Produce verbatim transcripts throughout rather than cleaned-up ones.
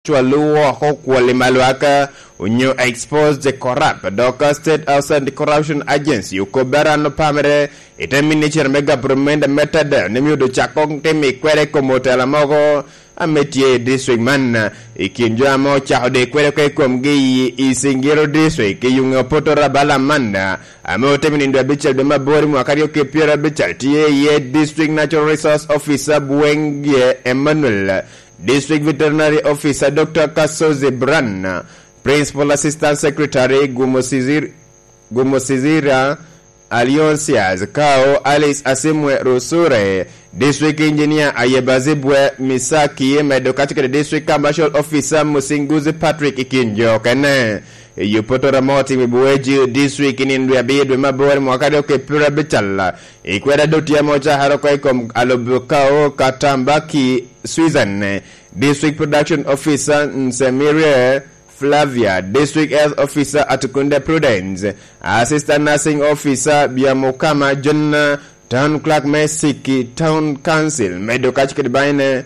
cwalo woko kwoli ma lwak, onyo expose the corrupt, dok State House Anti-Corruption Agency okobbe aran opamere i te minicita me gabramenti me Tadeo ni myero ocak koŋ tim i kwede i kom otela mogo ame tye i district man. I kin jo ame ocako de kwede oko i komgi i, i Singiro district, i Yunge Opoto Rabala man, ame otimo nindo abicel dwe me aboro i mwaka aryo ki pyera abical, tye iye District Natural Resource Officer Bwenge Emmanuel, District Veterinary Officer Doctor Kasozi Bran, Principal Assistant Secretary Gumosizir-, Gumosizira Alionsias Kao, Alice Asimwe Rusure, District Engineer Ayebazibwe Misaki, medo kaco kede District Commercial Officer Musinguzi Patrick i kin jo okene. I Yupoto Ramoti Mibuweji District i nino dwe abiro dwe me aboro mwaka aryo ki pyera abical, i kweda dotye ame ocakere oko i kom Alobukao Katambaki Susan, District Production Officer Nsemirie Flavia, District Health Officer Atukunde Prudence, Assistant Nursing Officer Biamukama John, Town Clerk me Siki Town Council, medo kaco kede baine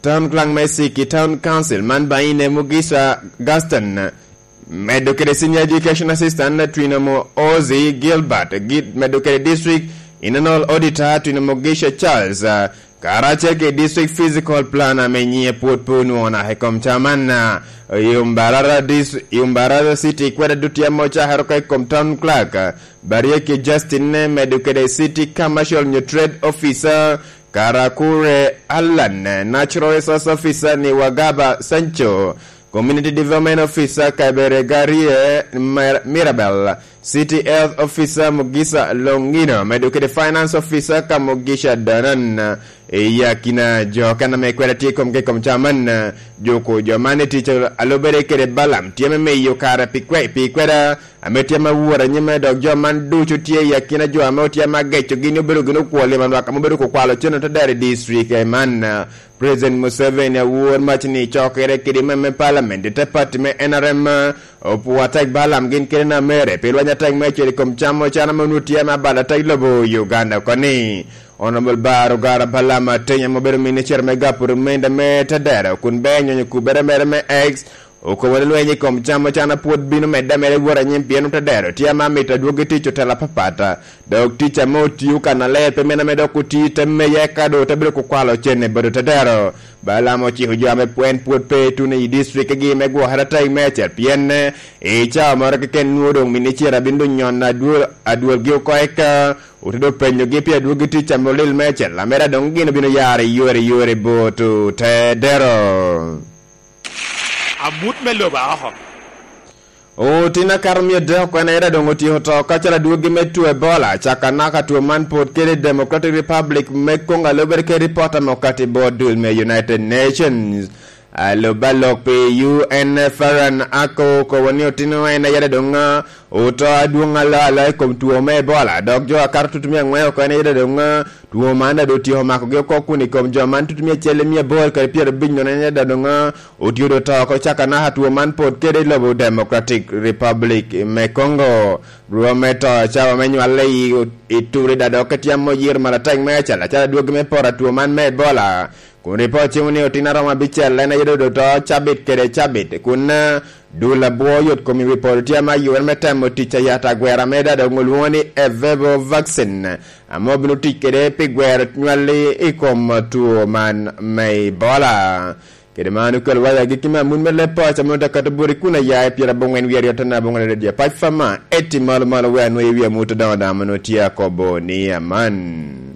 Town Clerk me Siki Town Council, man baine Mugisha Gaston, medo kede Senior Education Assistant Twinomo Ozzy Gilbert, gi-, medo kede District Internal Auditor Twinomo Gisha Charles, ah, karacel kede District Physical Planner ame nyiŋe pwod pe onwoŋo naka i kom ca man, ah, i Mbarara Dis-, i Mbarara City kweda dutye ame ocakere oko i kom Town Clerk, ah, Barieki Justin, eh, medo kede City Commercial nyo Trade Officer, Karakure Allan, Natural Resource Officer ni Wagaba Sancho, Community Development Officer Kaberegarie Mer-, Mirabel, City Health Officer Mugisa Longino, medo kede Finance Officer ka Mugisha Danan, i akina jo kan ame kweda tye i komgi i kom ca man, juko jo man i tic a lubere kede Balaam, tye me miyo kare pi kwe-, pi kweda, ame tye ame awor anyime, dok jo man ducu tye i akina jo ame otye ame agecogi ni obedo gin okwol i manwak ame obedo kukwalo cen otedero i district man. President Museveni awor mac ni cokere kede me, me parliament i te party me N R M, opwo atek Balaam gin kede na mere pi lweny atek me cel i kom cam ocana ma onwoŋo tye ame abalo atek lobo Uganda oko ni. Honorable Bar Ogara Balaam Ateny ame obedo minister me gapu rumende me tedero kun be nyonyo kubere mere me X, okobo ni lweny i kom cam ocana pwod bino medde ameda i woro anyim pien otedero tye ame amito adwogi tic otela apapat, dok tic ame otio kannaler pe mene ame dok oti te meye eka doŋ ote bedo kukwalo cen i bot otedero. Balaam ociko jo ame pwen pwod pe ituno i distriktgi me gwokere atek meicel pien, eh, i cawa moro keken nwoŋo doŋ minicita bino doŋ nyono adwol, adwolgi oko eka ote doŋ penyogi pi adwogi tic ame olil meicel, amera doŋ gin obino yaro i yore i yore bot otedero. Amut me lobo a oko. Otin akato mia adek oko en aye doŋ otyeko to, ka calo adwogi me two Ebola, caka naka two man pwod kede i Democratic Republic me Congo, a lubere kede ripot ame okati bot dul me United Nations. Alub alok pi U N Farhan Ako okobo ni otino en aye doŋ, ah, oto adwoŋ alo alo i kom two me Ebola, dok jo akato tutumia aŋwen oko en aye doŋ, ah, two man daŋ doŋ otyeko makogi oko kun i kom jo man tutumia acel i mia aboro kede pyerabic nono en aye doŋ, ah, otye doŋ to oko caka naka two man pwod kede i lobo Democratic Republic me Congo. Rwom me to cawa me nywale i, i Turida dok etye ame oyiro malatek me acel acel adwogi me poto two man me Ebola. Kun ripot cimo ni otin aromo abicel en aye dodo to cabit kede cabit, kun, eh, dul abwo yot kom i wi polo tye ame ayubere me temo tic a yat agwera me dada ongo lwoŋo ni Evevo vaccine, ame obino tic kede pi gwero nywalli i kom two man me Ebola. Kede man okelo waya agikki me amut me leb paco ame ote kato boti kun aya i pyera abongwen wie aryo tana abongwen aryo dye pac fama eti malo malo wea nwoyo i wi amut odoŋo daŋ ame nwoŋo tye akobo ni aman.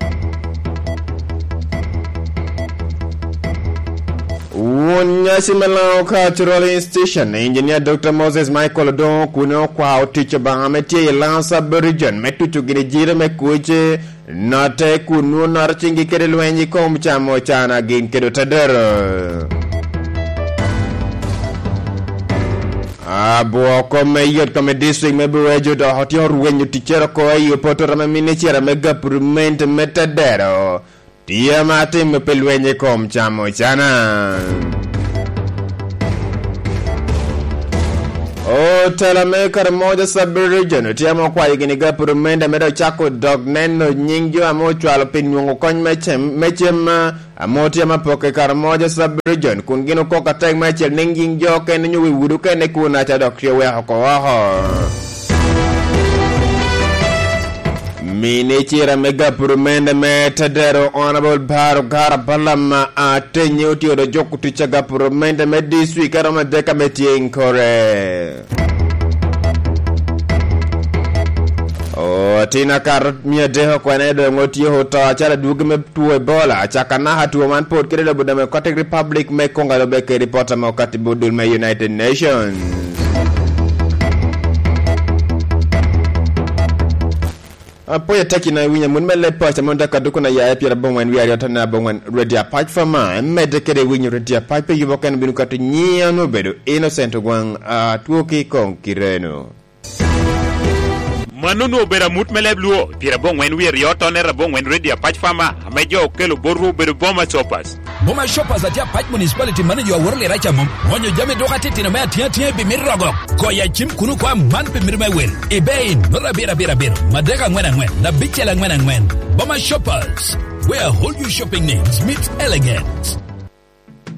Won nyaci me Lango Cultural Institution, Engineer Doctor Moses Michael Odongo, kun okwao tic Obaŋa ame tye i Lango Sub Region me tuco gini jiro me kuc, notte kun nwoŋo noto ciŋgi kede lweny i kom camo cana gin kede otedero. Abwoko me yot kome district me Burejo dok otyeko rwenyo ticcere oko i opotoro me minicita me gapurment me tedero. Tye ame atimo pi lweny i kom camo cana. Otela me Karamoja Sub-Region otye ame okwayo gini gapurumende me dok cako dok neno nying jo ame ocwalo pi nwoŋo kony me cem, me cem, ame otye ame apokke i Karamoja Sub-Region, kun gin okok atek me acel ni nying jo okene nyo wi wudu okene kun aca dok tye oweko oko oko. Minicita me gapurumende me Tedero, Honorable Baro Gara Balam Atenye, otye odo joko tic a gapurumende me district a romo adek ame tye i Nkore. Otin akato mia adek okwene doŋ otyeko oto acalo adwogi me two Ebola, caka naka two man pwod kede lobo Democratic Republic me Congo, lube kede ripot ame okatti bot dul me United Nations. Apwoyo atek yin a iwinyo amut me leb paco, mon dek aduku na yaye pyerabongwen wie aryo tone abongwen Radio Apac Fama, emedde kede winyo Radio Apac pe yubo kene bino kato nyiya onwo obedo Innocent Ogwaŋ, atwo ki i koŋ kireno. Mano onwo obedo amut me leb Luo, pyerabongwen wie aryo tone abongwen Radio Apac Fama, ame jo okelo botwu obedo Boma Shoppers. Boma Shoppers atye Apac Municipality, mano jo aworo lira ca mom. Mwonyo jami dok atitino me atiŋ atiŋ i bimit rogo. Goyo acim kun okwa man pi mito me wel. I Bein, nota abiro abiro abiro, madek aŋwen aŋwen, abicel aŋwen aŋwen. Boma Shoppers, where all your shopping needs meet elegance.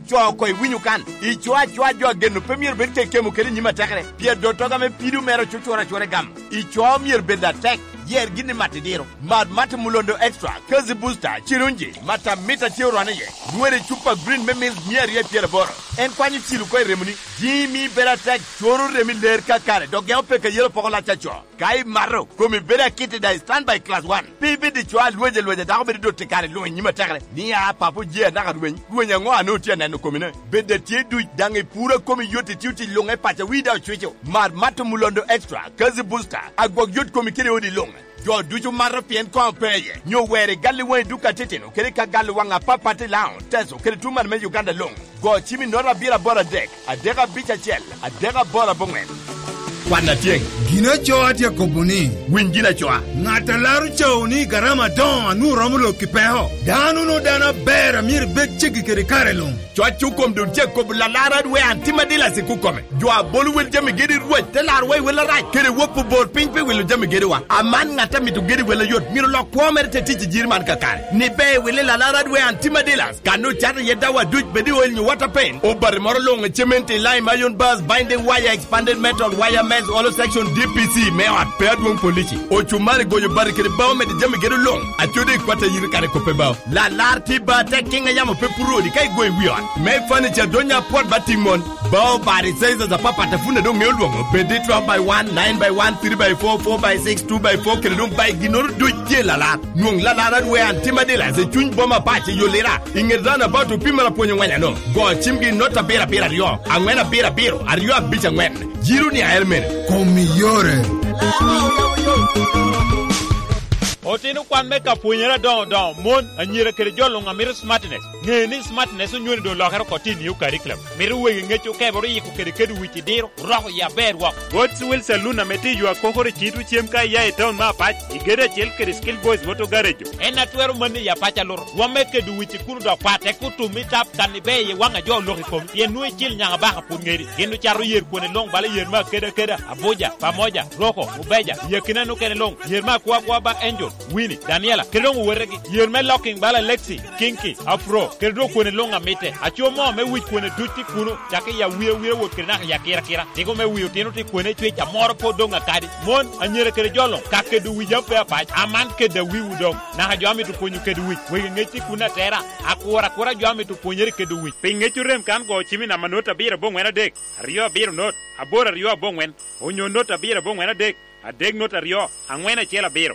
Co oko iwinyo kan, ico acoa jo ageno pe myero bed kekemo kede nyim atekere, pien dottoga me pido mere ocucura acura i gamo. Ico myero bed atek, yer gin i mat idiro. Mad Mata Mulondo Extra, Kazi Booster, Cirunji, Mata Mita tye orwane iye. Nwere cupa green me milk mia aryo i pyeraboro. En kwanyo cil oko i remoni. Jimi bedo atek, coro remi ler kakare, dok geko peke yelo poko lac aco. Ka imato, komi bedo akit i daŋ stand by class one. Pe ibed i cwa alwec alwec a dako bedo dot i kare luŋ i nyim atekere. Ni a papo je anaka rweny, rweny aŋo a nwoŋo tye aneno komine? Bed a tye duc daŋ i puro a komi yot i tio tic luŋ e paco wi daŋ ocwico. Mar Mata Mulondo Extra, Kazi Booster, agwok yot komi kede odi luŋ. Jo ducu mato pien koŋ pe iye, nyo wer i gal i waŋi duka titino, kede ka gal i waŋ apapat i Laŋo, Teso, kede tuŋ man me Uganda luŋ. Go cim i nota abiro aboro adek, adek abic acel, adek aboro aboŋwen. Kwan atyeŋ. Gin acoa tye akobo ni, winy gin acoa. Ŋat a laro cao ni garama adoŋo a nwoŋo romo lok i peko. Dano no dano aber a myero ibed ceggi kede kare luŋ. Cwac okom doŋ tye akobo lalar adwe an tim adila sik okome. Jo a bolo wel jami gedo i Rweny te laro wa i wel arac, kede wok obor piny pi wilo jami gedowa. Aman ŋat a mito gedo i wel ayot myero lok kwo mere te tic i jiri man kakare. Ni be i wili lalar adwe an tim adila, kan ocato iye dawa duc bed i oil nyo water paint. Obati moro luŋ i cement i lime, iron bars, binding wire, expanded metal, wire mesh, hollow section, D P C me ot pe adwoŋ polici. Ocumari goyo bati kede bao mede jami gedo luŋ. Acodi i kwat a yiri kare kope bao. Lalar tye ba tek kiŋ a yamo pe puro odi ka igoyo i wi ot. Me furniture donya apwot ba tiŋ mon. Bao bati sizes apapat a pwod doŋ ŋeo lwoŋo. Bed i twelve by one, nine by one, three by four, four by six, two by four, kede doŋ by ginnoro duc tye lalar. Nwoŋ lalar adwe an tim adila i cuny boma pac i Yolira. I ŋet roundabout opii mara pwonyo ŋweny ano. Go cimgi i nota abiro abiro aryo, aŋwen abiro abiro, aryo abic aŋwen. Jiro ni aer mene. Kom i yore. Otino kwan me ka pwonyere adoŋo doŋo, mon, anyira kede jo luŋ a mito smartness. Ŋe ni smartness onywoni doŋ olokere oko tye i new curriculum. Mito wegi ŋec okebere oyiko kede kedo wic i diro, oroko yi aber wok. God's Will Saloon ame tye i yo akokoro i Cito cem ka iya i town me Apac, i gedo acel kede Skill Boys Motor Garage. En a twero manni i Apac aluto. Rwom me kedo wic i kuno dok pat, tek otum i tap kan ibe i waŋ a jo olok i komi. Pien nwoŋo icil nyaka baka pwod ŋedi. Gin ocato yer kwone luŋ bala yer me akeda akeda, Abuja, Pamoja, Roko, Mubeja, i akina nokene luŋ, yer me akwa akwa ba Angel, Winnie, Daniela, kede doŋ owetegi, yer me locking bala Lexi, Kinky, Afro, kede doŋ kwone luŋ amitte. Aco mo me wic kwone duc tye kuno, cakki i awia awira wot kede naka i akira akira. Tiko me wi otino tye kwone cwec amoro pwod doŋ akadi. Mon, anyira kede jo luŋ, ka kedo wic ape apac, aman kedo awiwu doŋ. Naka jo amito pwonyo kedo wic, wegi ŋec tye kuno atera. Akura akura jo amito pwonyere kedo wic. Pi ŋec orem kan go cimi namba not abiro aboŋwen adek, aryo abiro not, aboro aryo aboŋwen, onyo not abiro aboŋwen adek, adek not aryo, aŋwen acel abiro.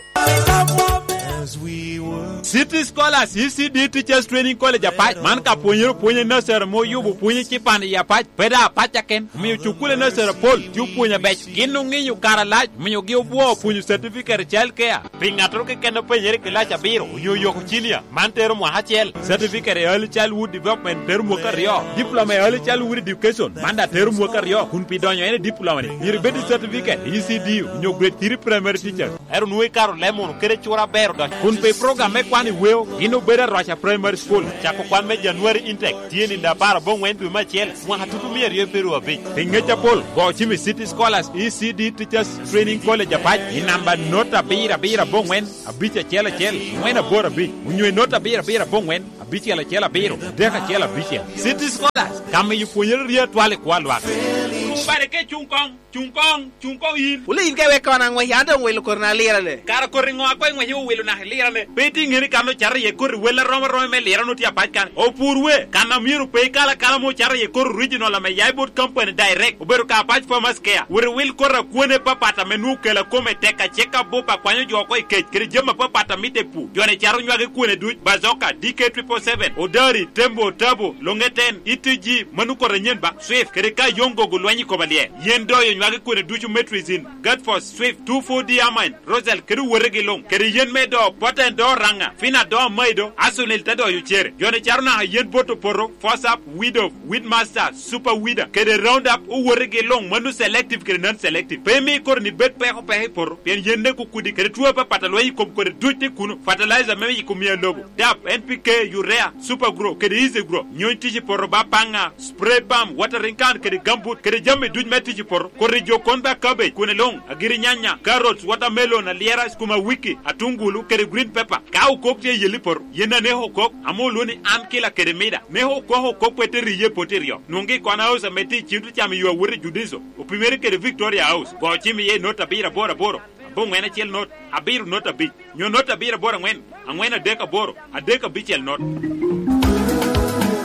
City Scholars, E C D Teachers Training College Apac, man ka pwonyere opwonye nursery ma oyubo pwonye cipan i Apac, pe daŋ Apac aken, omiyo cukule nursery apol tye opwonyo abeco. Gin oŋinyo kare alac, omiyo gi obwo opwonyo certificate i child care. Pi ŋattoro keken a penyere i kilac abiro onyo oyoko cinia, man tero mwaka acel. Certificate i Early Childhood Development tero mwaka aryo. Diploma i Early Childhood Education, man daŋ tero mwaka aryo. Kun pi donyo en i diploma-ni, myero ibed i certificate i E C D onyo grade three primary teachers. Ero nwoŋo ikaro leb munu kede cura aber dok. Kun pe program me kwan i weo, gin obedo Arwaca Primary School. Cako kwan me January intake tye nindo apar aboŋwen dwe me acel, mwaka tutu mia aryo pyeraryo abic. Pi ngec apol, go cim i City Scholars E C D Teachers Training College Apac i namba not abiro abiro aboŋwen abic acel acel ŋwen aboro abic, onyo i not abiro abiro aboŋwen abicel acel abiro adek acel abicel. City Scholars, ka miyo pwonyere rye atwal i kwo a lwak. Cuŋ bade ka icuŋ koŋ, cuŋ koŋ, cuŋ koŋ yin. Wule yin ka iweko an aŋwec, an doŋ wilo koti na lirane. Kara koti ŋo a koŋ iŋwec iwilo naka ilirane? Pe itye ŋeni kan ocato iye koti wel arom aromi me lirane otye apac kan. Opur we, kan a myero pe ikal akala mo ocato iye koti original ame ya i bot company direct. Obedo ka apac farmers care. Wot iwil koti a kwone papat ame nwoŋo kela kome tek acek abup akwanyo jo oko i kec, kede jami apapat a mitte i pur. Joni caro nywagi kwone duc, Bazoka, D K triple seven, Odari, Tembo, Tabo, Longeten, E T G, mano koti anyen ba, Swift, kede ka yoŋ gogo lweny i koma lye. Yen doyo nywagi kwone ducu Metrizin, Gatfos, Swift, two four D Amine, Rosal, kede wotegi luŋ. Kede yen me do, Poten do Raŋa, Fina do Amaido, Asunil te doyo cere. Joni caro naka yen bot opoto, Fosap, Widow, Weedmaster, Super Weeder, kede Roundup, owotegi luŋ, mano selective kede non-selective. Pe imi koti ni bed peko peko i poto, pien yen nek okudi, kede two apapat a lweny i kom kodi duc tye kuno. Fertilizer me yiko mia lobo, dap, N P K, urea, Super Grow, kede Easy Grow. Nyony tic i poto ba paŋa, spray pump, watering can, kede gambut, kede jami duc me tic i poto. Koti jo kon ba cabbage, kwene luŋ, agiri nyanya, carrots, watermelon, alyera, sukuma wiki, atungulu, kede green pepper. Ka okok tye i yelli poto, yen aneko okok, ame olwoŋo ni an kila kede mida. Neko okok okok pe te riye poto iryo. Nwoŋgi i kwana house ame tye i cim tye camo yo awot i Judiso, opimere kede Victoria House. Go cim iye i not abiro aboro aboro, aboŋwen acel not, abiro not abic, nyo not abiro aboro aŋwen, aŋwen adek aboro, adek abicel not.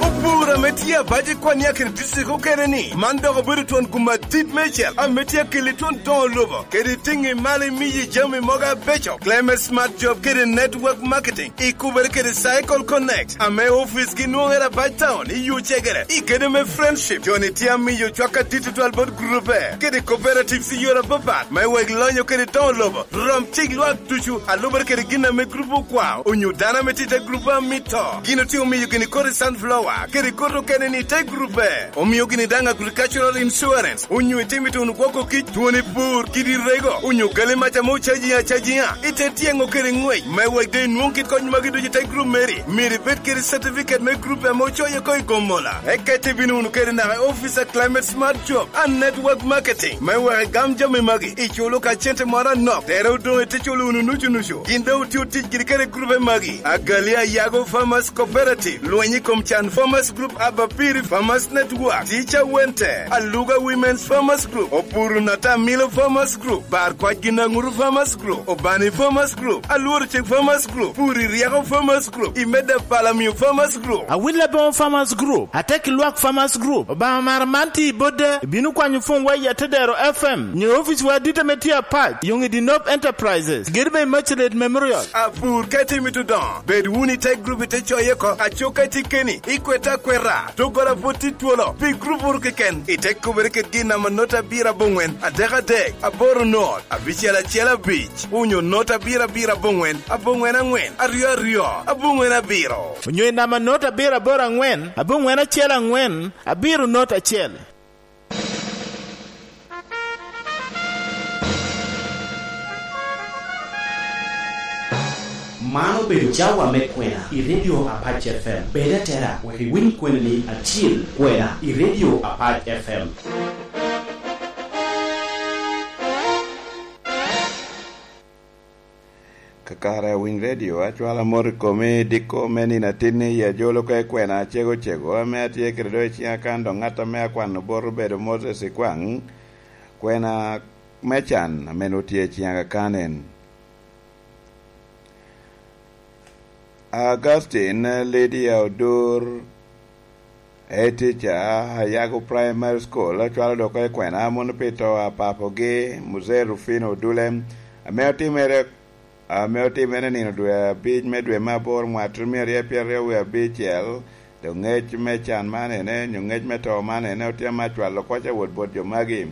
Opur ame tye abac i kwan i akina district okene ni, man dok obedo twon gum adit meicel ame tye akeli twon doŋo lobo, kede tiŋi malo imiyi jami mogo abeco. Clement Smart Job kede Network Marketing ikubere kede Cycle Connect, ame ofice gi nwoŋere abac town i Yucegere, i kede me Friendship. Joni tye amiyo cwak adit tutwal bot grupe kede cooperatives i yore apapat, me wek lonyo kede doŋo lobo. Rom cik lwak ducu, a lubere kede gin ame grup okwao, onyo dano ame tye i te grup a mito. Gin otye omiyo gini kodi sunflower, kede kodi okene ni i te grup B. Omio gini daŋ agricultural insurance, onyo itimo ituno gwoko kic, twoni pur, kidi rego, onyo gali mac ame ocaji acajiŋa. I te tyeŋo kede ŋwec, me wek doŋ inwoŋ kit kony magi ducu i te grup meri, myero ibed kede certificate me grup ame ocoyo oko i Gomola. Eka ite bino wunu kede naka i office a Climate Smart Job and Network Marketing, me wek igam jami magi, iculo ka cente moro anok, tere odoŋ ite culo wunu nucu nucu. Gin doŋ otio tic giri kede grupe magi: Agali Ayago Farmers Cooperative, Lweny i kom Can Farmers Group, Abapiri Farmers Network, Teacher Wente, Aluga Women's Farmers Group, Opuru Natamilo Farmers Group, Bar Kwac Ginaŋuru Farmers Group, Obani Farmers Group, Alworo Cik Farmers Group, Puri Ryeko Farmers Group, Imeda Palamio Farmers Group. Awil Aboŋo Farmers Group, Ateki Lwak Farmers Group, Obaŋa Mara man tye i bot de, ibino kwanyo pwony wa i Atedero F M, nyo ofice wa adit ame tye apac, Yoŋ i Dinop Enterprises, gedo me Immaculate Memorial. Apur ka itimo itudoŋo, bed wunu i te grup ite coye oko, aco ka itye keni, ikwete akweta, doggola pwod tye twolo, pi grup oro keken, ite kubere kede gin namba not abiro aboŋwen, adek adek, aboro not, abicel acel abic, onyo not abiro abiro aboŋwen, aboŋwen aŋwen, aryo aryo, aboŋwen abiro. Onyo i namba not abiro aboro aŋwen, aboŋwen acel aŋwen, abiro not acel. Man obedo cawa me kwena i Radio Apac F M. Bed atera wek iwiny kweni ni acil kwena i Radio Apac F M. Kakare awiny redio, acwalo amot i komi, diko me nino atinni i ajolo ka ikwena acego cego, ame atye kede do i ciŋa kan, dok ŋat ame akwano bot obedo Moses Ikwaŋ, kwena me can ame nwoŋo tye i ciŋa kan en. Augustine, Lydia Odur, Etica, Ayago Primary School, acwalo dok oko i kwena mono pi to a papogi, Mzee Rufino Odule, ame otimere, ame otimere nino dwe abic me dwe me aboro, mwaka tutumia aryo pyeraryo wie abicel. Dok ŋec me can man ene, nyo ŋec me to man ene, otye ame acwalo oko ca wot bot jo magi.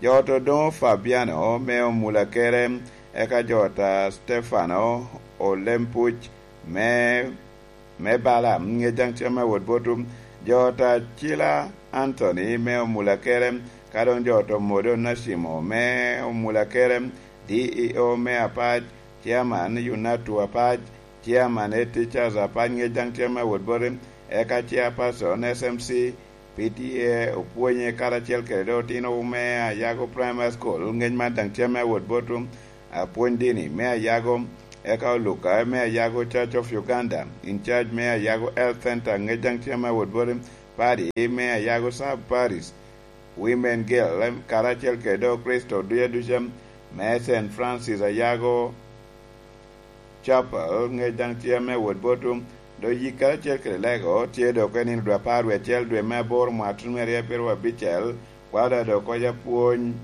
Jo ot Odoŋo Fabiano me Omulakere, eka jo ot a Stefano Olempuc me me Bala, ŋec daŋ tye me wot botwu. Jo ot Acila Anthony me Omulakere, ka doŋ jo ot Omodo Onacimo me Omulakere, D E E O me Apac, Chairman Yunatu Apac, Chairman Head Teachers Apac, ŋec daŋ tye me wot boti, eka Chairperson S M C P T A opwonye karacel kede otino me Ayago Primary School, ŋec man daŋ tye me wot boti, apwony dini me Ayago, eka Oluka me Ayago Church of Uganda, in charge me Ayago Health Center, ŋec daŋ tye me wot boti, Padi me Ayago Sub Parish, Women Guild, karacel kede Okristo duc aduca me Saint Francis Ayago Chapel, ŋec daŋ tye me wot boti, do yik karacel kede lego tye dok i nino dwe apar wie acel dwe me aboro mwaka tuno me aryo abiro abicel, kwao da dok koc apwony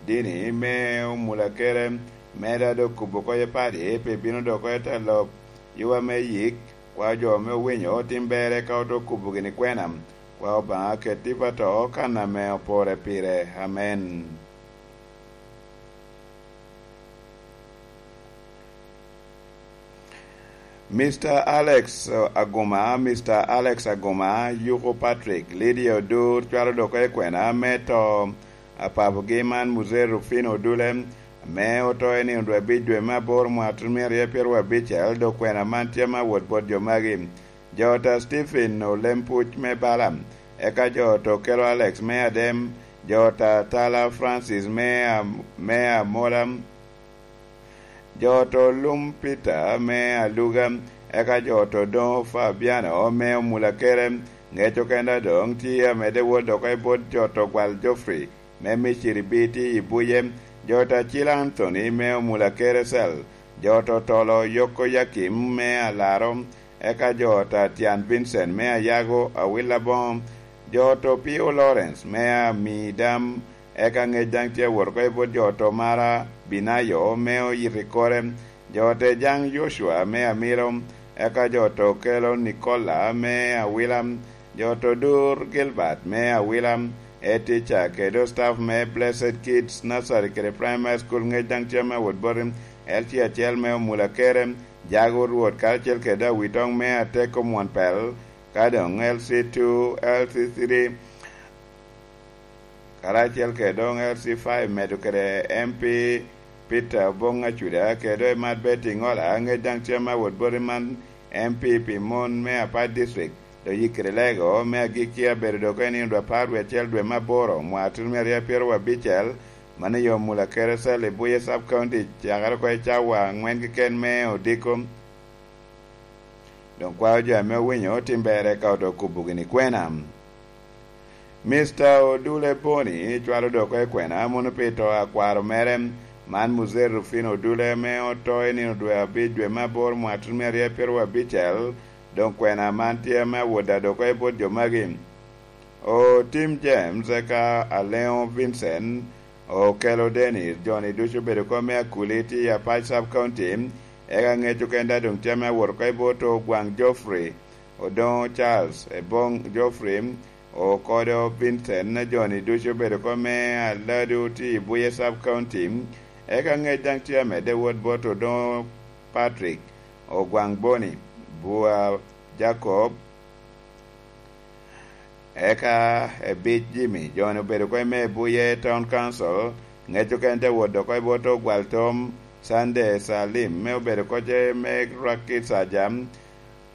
dini me omula kere, me da dok kubo koc apadi pi bino dok koc ata lok, yuba me yik, kwao jo me owinyo tim berre ka oto kubo gini kwena, kwao Obaŋa ket tipo ato kan ame opore pire. Amen. Mister Alex Aguma, Mister Alex Aguma, Yuko Patrick, Lydia Odur, cwalo dok i kwena me to a papogi man, Muzee Rufino Odule, ame oto i nino dwe abic dwe me aboro mwaka tuno myero aryo pyeraryo abicel, dok kwena man tye me awot bot jo magi. Jo ta Stephen Olempuc me Bala, eka jo ta Okelo Alex me Adem, jo ta Tala Francis me, me Amola, jo ta Olum Peter me Aluga, eka jo ta Odoŋo Fabiano me Omulakere, ŋec okenda doŋ tye amedde wot dok i bot jo ta Ogwal Geoffrey me Miciri Biti i Buye, jo ta Cil Anthony me Omulakere Cell, jo ta Otolo Yoko Yakim me Alaro, eka jo ta Tyan Vincent me Ayago Awil Aboŋo, jo ta Opio Lawrence me Amidam, eka ŋec daŋ tye awot oko i bot jo ta Omara Binayo me Oyito i Kore, jo ta Ejaŋ Yocua me Amiro, eka jo ta Okelo Nikola me Awila, jo ta Odur Gilbert me Awila, Etica kede staff me Blessed Kids Nursery kede Primary School, ŋec daŋ tye me awot boti, L C acel me Omulakere, Jago Rwot karacel kede Awitoŋ me Ateko Mwon Pel, ka doŋ L C two, L C three, karacel kede doŋ L C five, medo kede M P Peter Oboŋ Acuda, kede Emat Betty Ŋola, ŋec daŋ tye me awot boti man, M P pi mon me Apac District, dok yikere lego me agikki abedo dok i nino dwe apar wie acel dwe me aboro, mwaka tuno myero aryo pyeraryo abicel, mano i Omulakere Cell i Buye Sub County, cakere oko i cawa aŋwen keken me odiko. Doŋ kwao jo ame owinyo tim berre ka oto kubo gini kwena. Mister Odule Boni cwalo dok oko i kwena mono pi to a kwaro mere, man Muzee Rufino Odule, ame oto i nino dwe abic dwe me aboro mwaka tuno myero aryo pyeraryo abicel, doŋ kwena man tye ame awot da dok oko i bot jo magi. Otim James, eka Aleŋo Vincent, Okelo Dennis, jo-ni ducu obedo kom me Akuliti i Apac Sub County, eka ŋec okenda doŋ tye ame awot oko i bot Ogwaŋ Geoffrey, Odoŋo Charles, Eboŋ Geoffrey, Okodo Vincent, jo-ni ducu obedo kom me Aladu tye i Buye Sub County, eka ŋec daŋ tye amedde wot bot Odoŋo Patrick, Ogwaŋ Boni, Bua Jacob, eka Ebic Jimmy, jo-ni obedo oko i me Buye Town Council, ŋec okene te wot oko i bot Ogwal Tom, Sunday Salim, me obedo oko ce me Rakit Saja,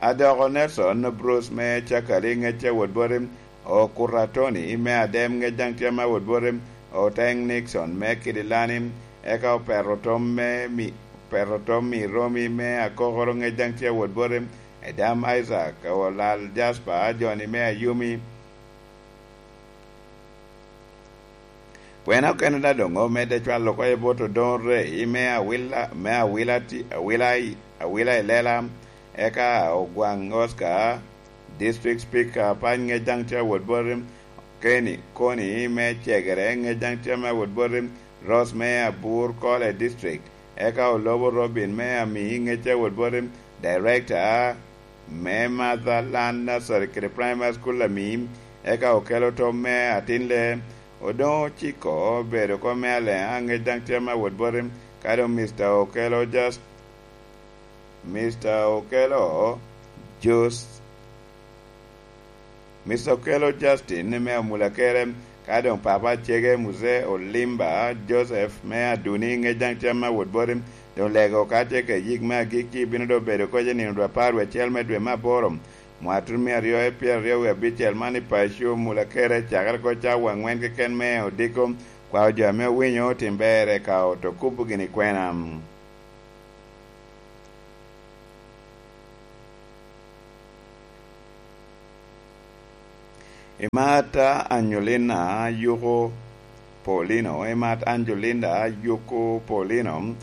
Adoko Nelson Bruce me Cakali, ŋec ce wot boti, Okuta Tony me Adem, ŋec daŋ tye me wot boti, Oteng Nixon me Kidilani, eka Opeto Tom me Mi-, Opeto Tom i Romi me Akokoro, ŋec daŋ tye wot boti, Edam Isaac, Olal Jasper, jo-ni me Ayumi. Kwena okene da doŋ omedde cwalo oko i bot Odoŋo Rei me Awila, me Awila ti-, Awila i, Awila i Lela, eka Ogwaŋ Oscar, District Speaker, Apac, ŋec daŋ tye awot boti, Kenny Koni me Cegere, ŋec daŋ tye me awot boti, Rose me Abur Kole District, eka Olobo Robin me Ami, ŋec tye awot boti, Director me Motherland Nursery kede Primary School Ami, eka Okelo Tom me Atinle, Odoŋo Ciko obedo kom me Aleŋa, ŋec daŋ tye me awot boti, ka doŋ Mister Okelo Just, Mister Okelo Just, Mister Okelo Justin me Amulakere, Ka doŋ papa acege, Muzee Olimba Joseph me Aduni, ŋec daŋ tye ame awot boti, doŋ lego ka tye ka yik me agikki bino doŋ bedo koc i nino dwe apar wie acel me dwe me aboro, mwatun mia aryo i pyeraryo wie abicel man i paco Mulakere, cakere koc cawa aŋwen keken me odiko, kwao jo ame owinyo otim ber eka oto kubo gini kwena. Imat Angelina Yuko Paulino, imat Angelina Yuko Paulino,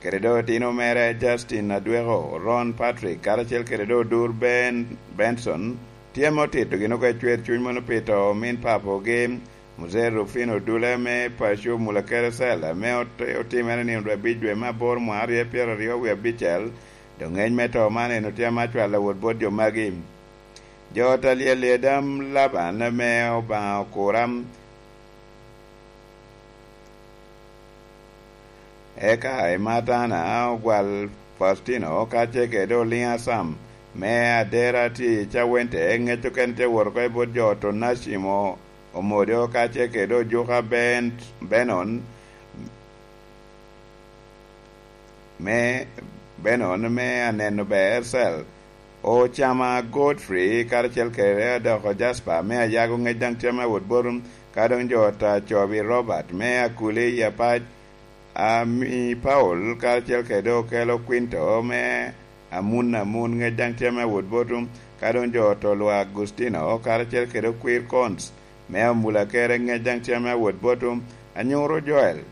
kede doŋ otino mere Justin Adweko, Ron Patrick, karacel kede doŋ Odur Ben Benson, tye ame otito gin oko i cwer cuny mono pi to omin papogi, Muzee Rufino Dule me paco Mulakere Cell, ame ot-, otimere nino dwe abic dwe me aboro mwaka aryo pyeraryo wie abicel, doŋ ŋec me to man en otye ame acwalo awot bot jo magi. Jo ta lyel i Adam Laban ame Obaŋa okura, eka i Matana ogwal Faustino, ka ce kede Oliŋa Sam, me Adera tye i Cawente, ŋec okene tye wot oko i bot jo Tonacimo Omodo, ka ce kede Ojuka Ben-, Benon, me Benon, me Aneno Ber Cell, Ocama Godfrey, karacel kede Adoko Jasper, me Ayago, ŋec daŋ tye ame awot botum, ka doŋ jo ta Cobi Robert, me Akuli i Apac, Ami Paul, karacel kede Okelo Quinto, me Amun Amun, ŋec daŋ tye ame awot botum, ka doŋ jo to Lwa Agustino, karacel kede Okwir Cons, me Amulakere, ŋec daŋ tye ame awot botum, Anyuro Joel,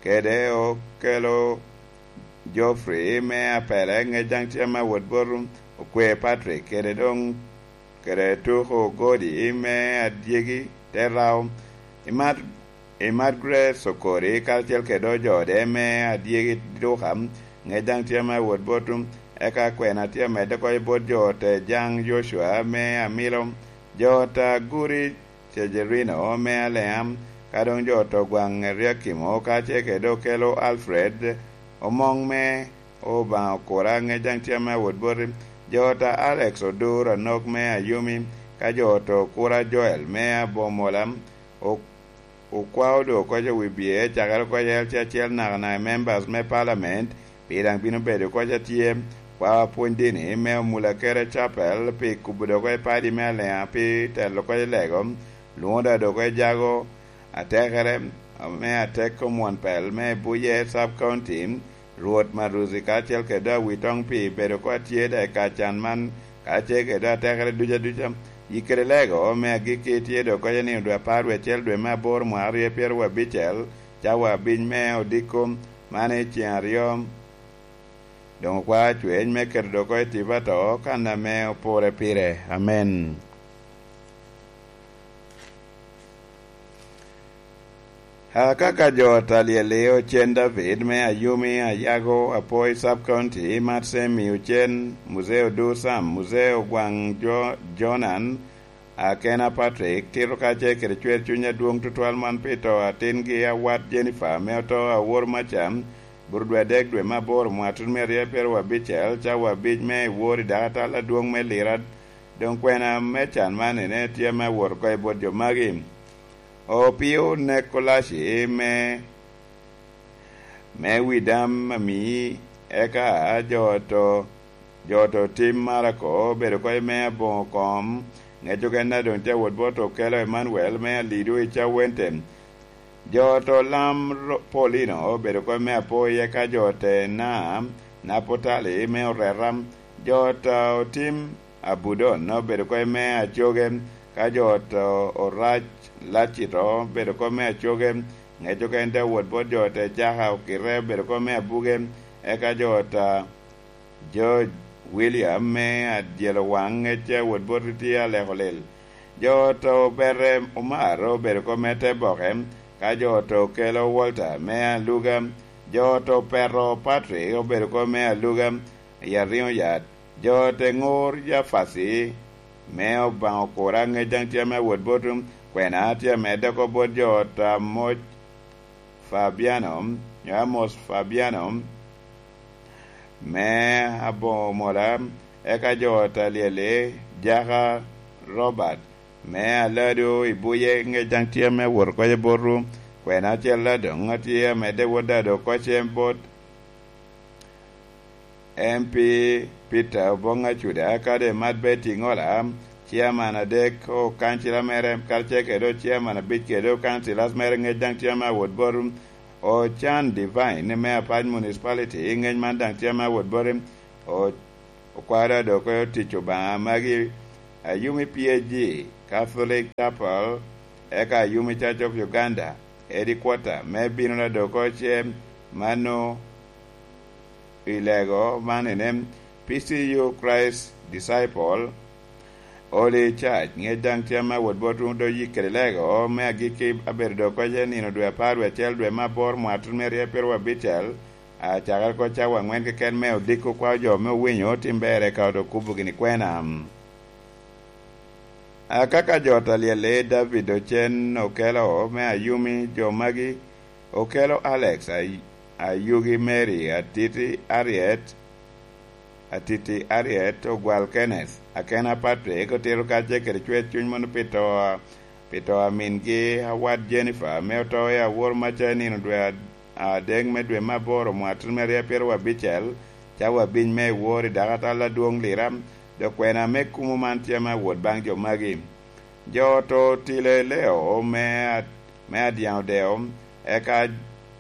kede Okelo Geoffrey me Apele, ŋec daŋ tye ame awot botum, Okwe Patrick, kede doŋ, kede Tuko Godi me Adyegi te Rao, imat, imat Grace Okori, karacel kede ojode me Adyegi Duka, ŋec daŋ tye ame awot botum, eka kwena tye amedde oko i bot jo te Jaŋ Yocua me Amilo, jo ta Guri Cejerino me Aleam, ka doŋ jo to gwaŋ Eriakimo, ka ce kede Okelo Alfred, Omoŋ me Obaŋa Okura, ŋec daŋ tye ame awot boti, jo ta Alex Odur Anok me Ayumi, ka jo to Okura Joel me Abomola, o-, okwao doŋ okoc wi bye, cakere okoc L C acel nakanaka i members me parliament, pi daŋ bino bedo okoc atye, kwao apwony dini me Omulakere Chapel, pi kubo doŋ okoc padi me Aleŋa, pi telo okoc lego, lwoŋo doŋ okoc jago, atekere, me atek omwon pel me Buye Sub County, Rwot Maruzi kacel kede Awitoŋ pi bedo oko atye da i kacan man, kacel kede atekere ducu aduca. Yik kede lego me agikki tye doŋ koca ni odwe apar wie acel dwe me aboro mwaka aryo pyeraryo abicel, cawa abic me odiko, man i ceŋ aryo. Doŋ okwao cweny me keto doŋ oko i tipo ato kan ame opore pire. Amen. Akaka jo ta lyel-li, Ocen David me Ayumi, Ayago, Apoi Sub County, Mat Semi, Ocen, Muzee Odur Sam, Muzee Ogwaŋ Jo-, Jonan, Akena Patrick, tito kacel kede cwer cuny adwoŋ tutwal man pi to atingi awat Jennifer ame oto awor maca, bur dwe adek dwe me aboro mwaka tutumia aryo pyeraryo abicel, cawa abic me i wor i dakatal adwoŋ me Lira. Doŋ kwena me can man ene tye ame awot oko i bot jo magi. Opio Nekolaci me, me Widam Ami, eka jo to, jo to tim Marako, obedo oko i me aboŋo kom, ŋec okene doŋ tye awot bot Okelo Emmanuel me Alido i Cawente. Jo to lam ro-, Paulino obedo oko i me apoyi, eka jo te na, Napotali me Oreta, jo to tim Abudon obedo oko i me Acoge, ka jo to Orac Lacito obedo oko i me Acoge, ŋec okene te wot bot jo te Caka Okite obedo oko i me Abuge, eka jo ta George William me Adyelo Waŋ, ŋec a wot bot Ritye Aleko Lel. Jo to Bere Omar obedo oko me te Boke, ka jo to Okelo Walter me Aluga, jo to Petro Patrick obedo oko me Aluga i Ariŋo Yat, jo te Ŋor Jafaci me Obaŋa Okura, ŋec daŋ tye ame awot bot kwena tye amedde oko bot jo ta Moc Fabiano, nyo Amos Fabiano, me Abomola, eka jo ta Lyeli, Jaka Robert, me Aladu i Buye, ŋec daŋ tye ame wot oko i botwu. Kwena acel adoŋ atye amedde wot Dado oko cem bot M P Peter Oboŋ Acuda, kadi Mat Betty Ŋola, ciaman adek o kancila mere, karacel kede ciaman abic kede o councillors mere, ŋec daŋ tye ame awot bot Ocan Divine me Apac Municipality, ŋec man daŋ tye ame awot bot O-, okwara dok otic Obaŋa magi, Ayumi P A G, Catholic Chapel, eka Ayumi Church of Uganda, Headquarter, me bino na dok oce mano i lego man ene, P C U Christ Disciple, Holy Church, ŋec daŋ tye ame awot bot wun do yik kede lego me agikki abedo dok oce nino dwe apar dwe acel dwe me aboro mwatun me ryepiro abicel, Acakere oko cawa aŋwen keken me odiko kwao jo me owinyo tim ber eka oto kubo gini kwena. Akaka jo ta lyelle David Ocen okelo me Ayumi, jo magi okelo Alex Ay-, Ayugi, Mary Atiti Ariet, Atiti Ariet, Ogwal Kenneth, Akena Patrick, otito kacce kede cwer cuny mono pi to, pi to a mingi Awat Jennifer, ame oto i awor maca i nino dwe ad-, adek me dwe me aboro mwatun me aryo pyeraryo abicel, cawa abic me ewor i dakatal adwoŋ Lira, dok kwena me kumo man tye ame awot baŋ jo magi. Jo oto Tile Leo me a-, me Adyaŋ Odeo, eka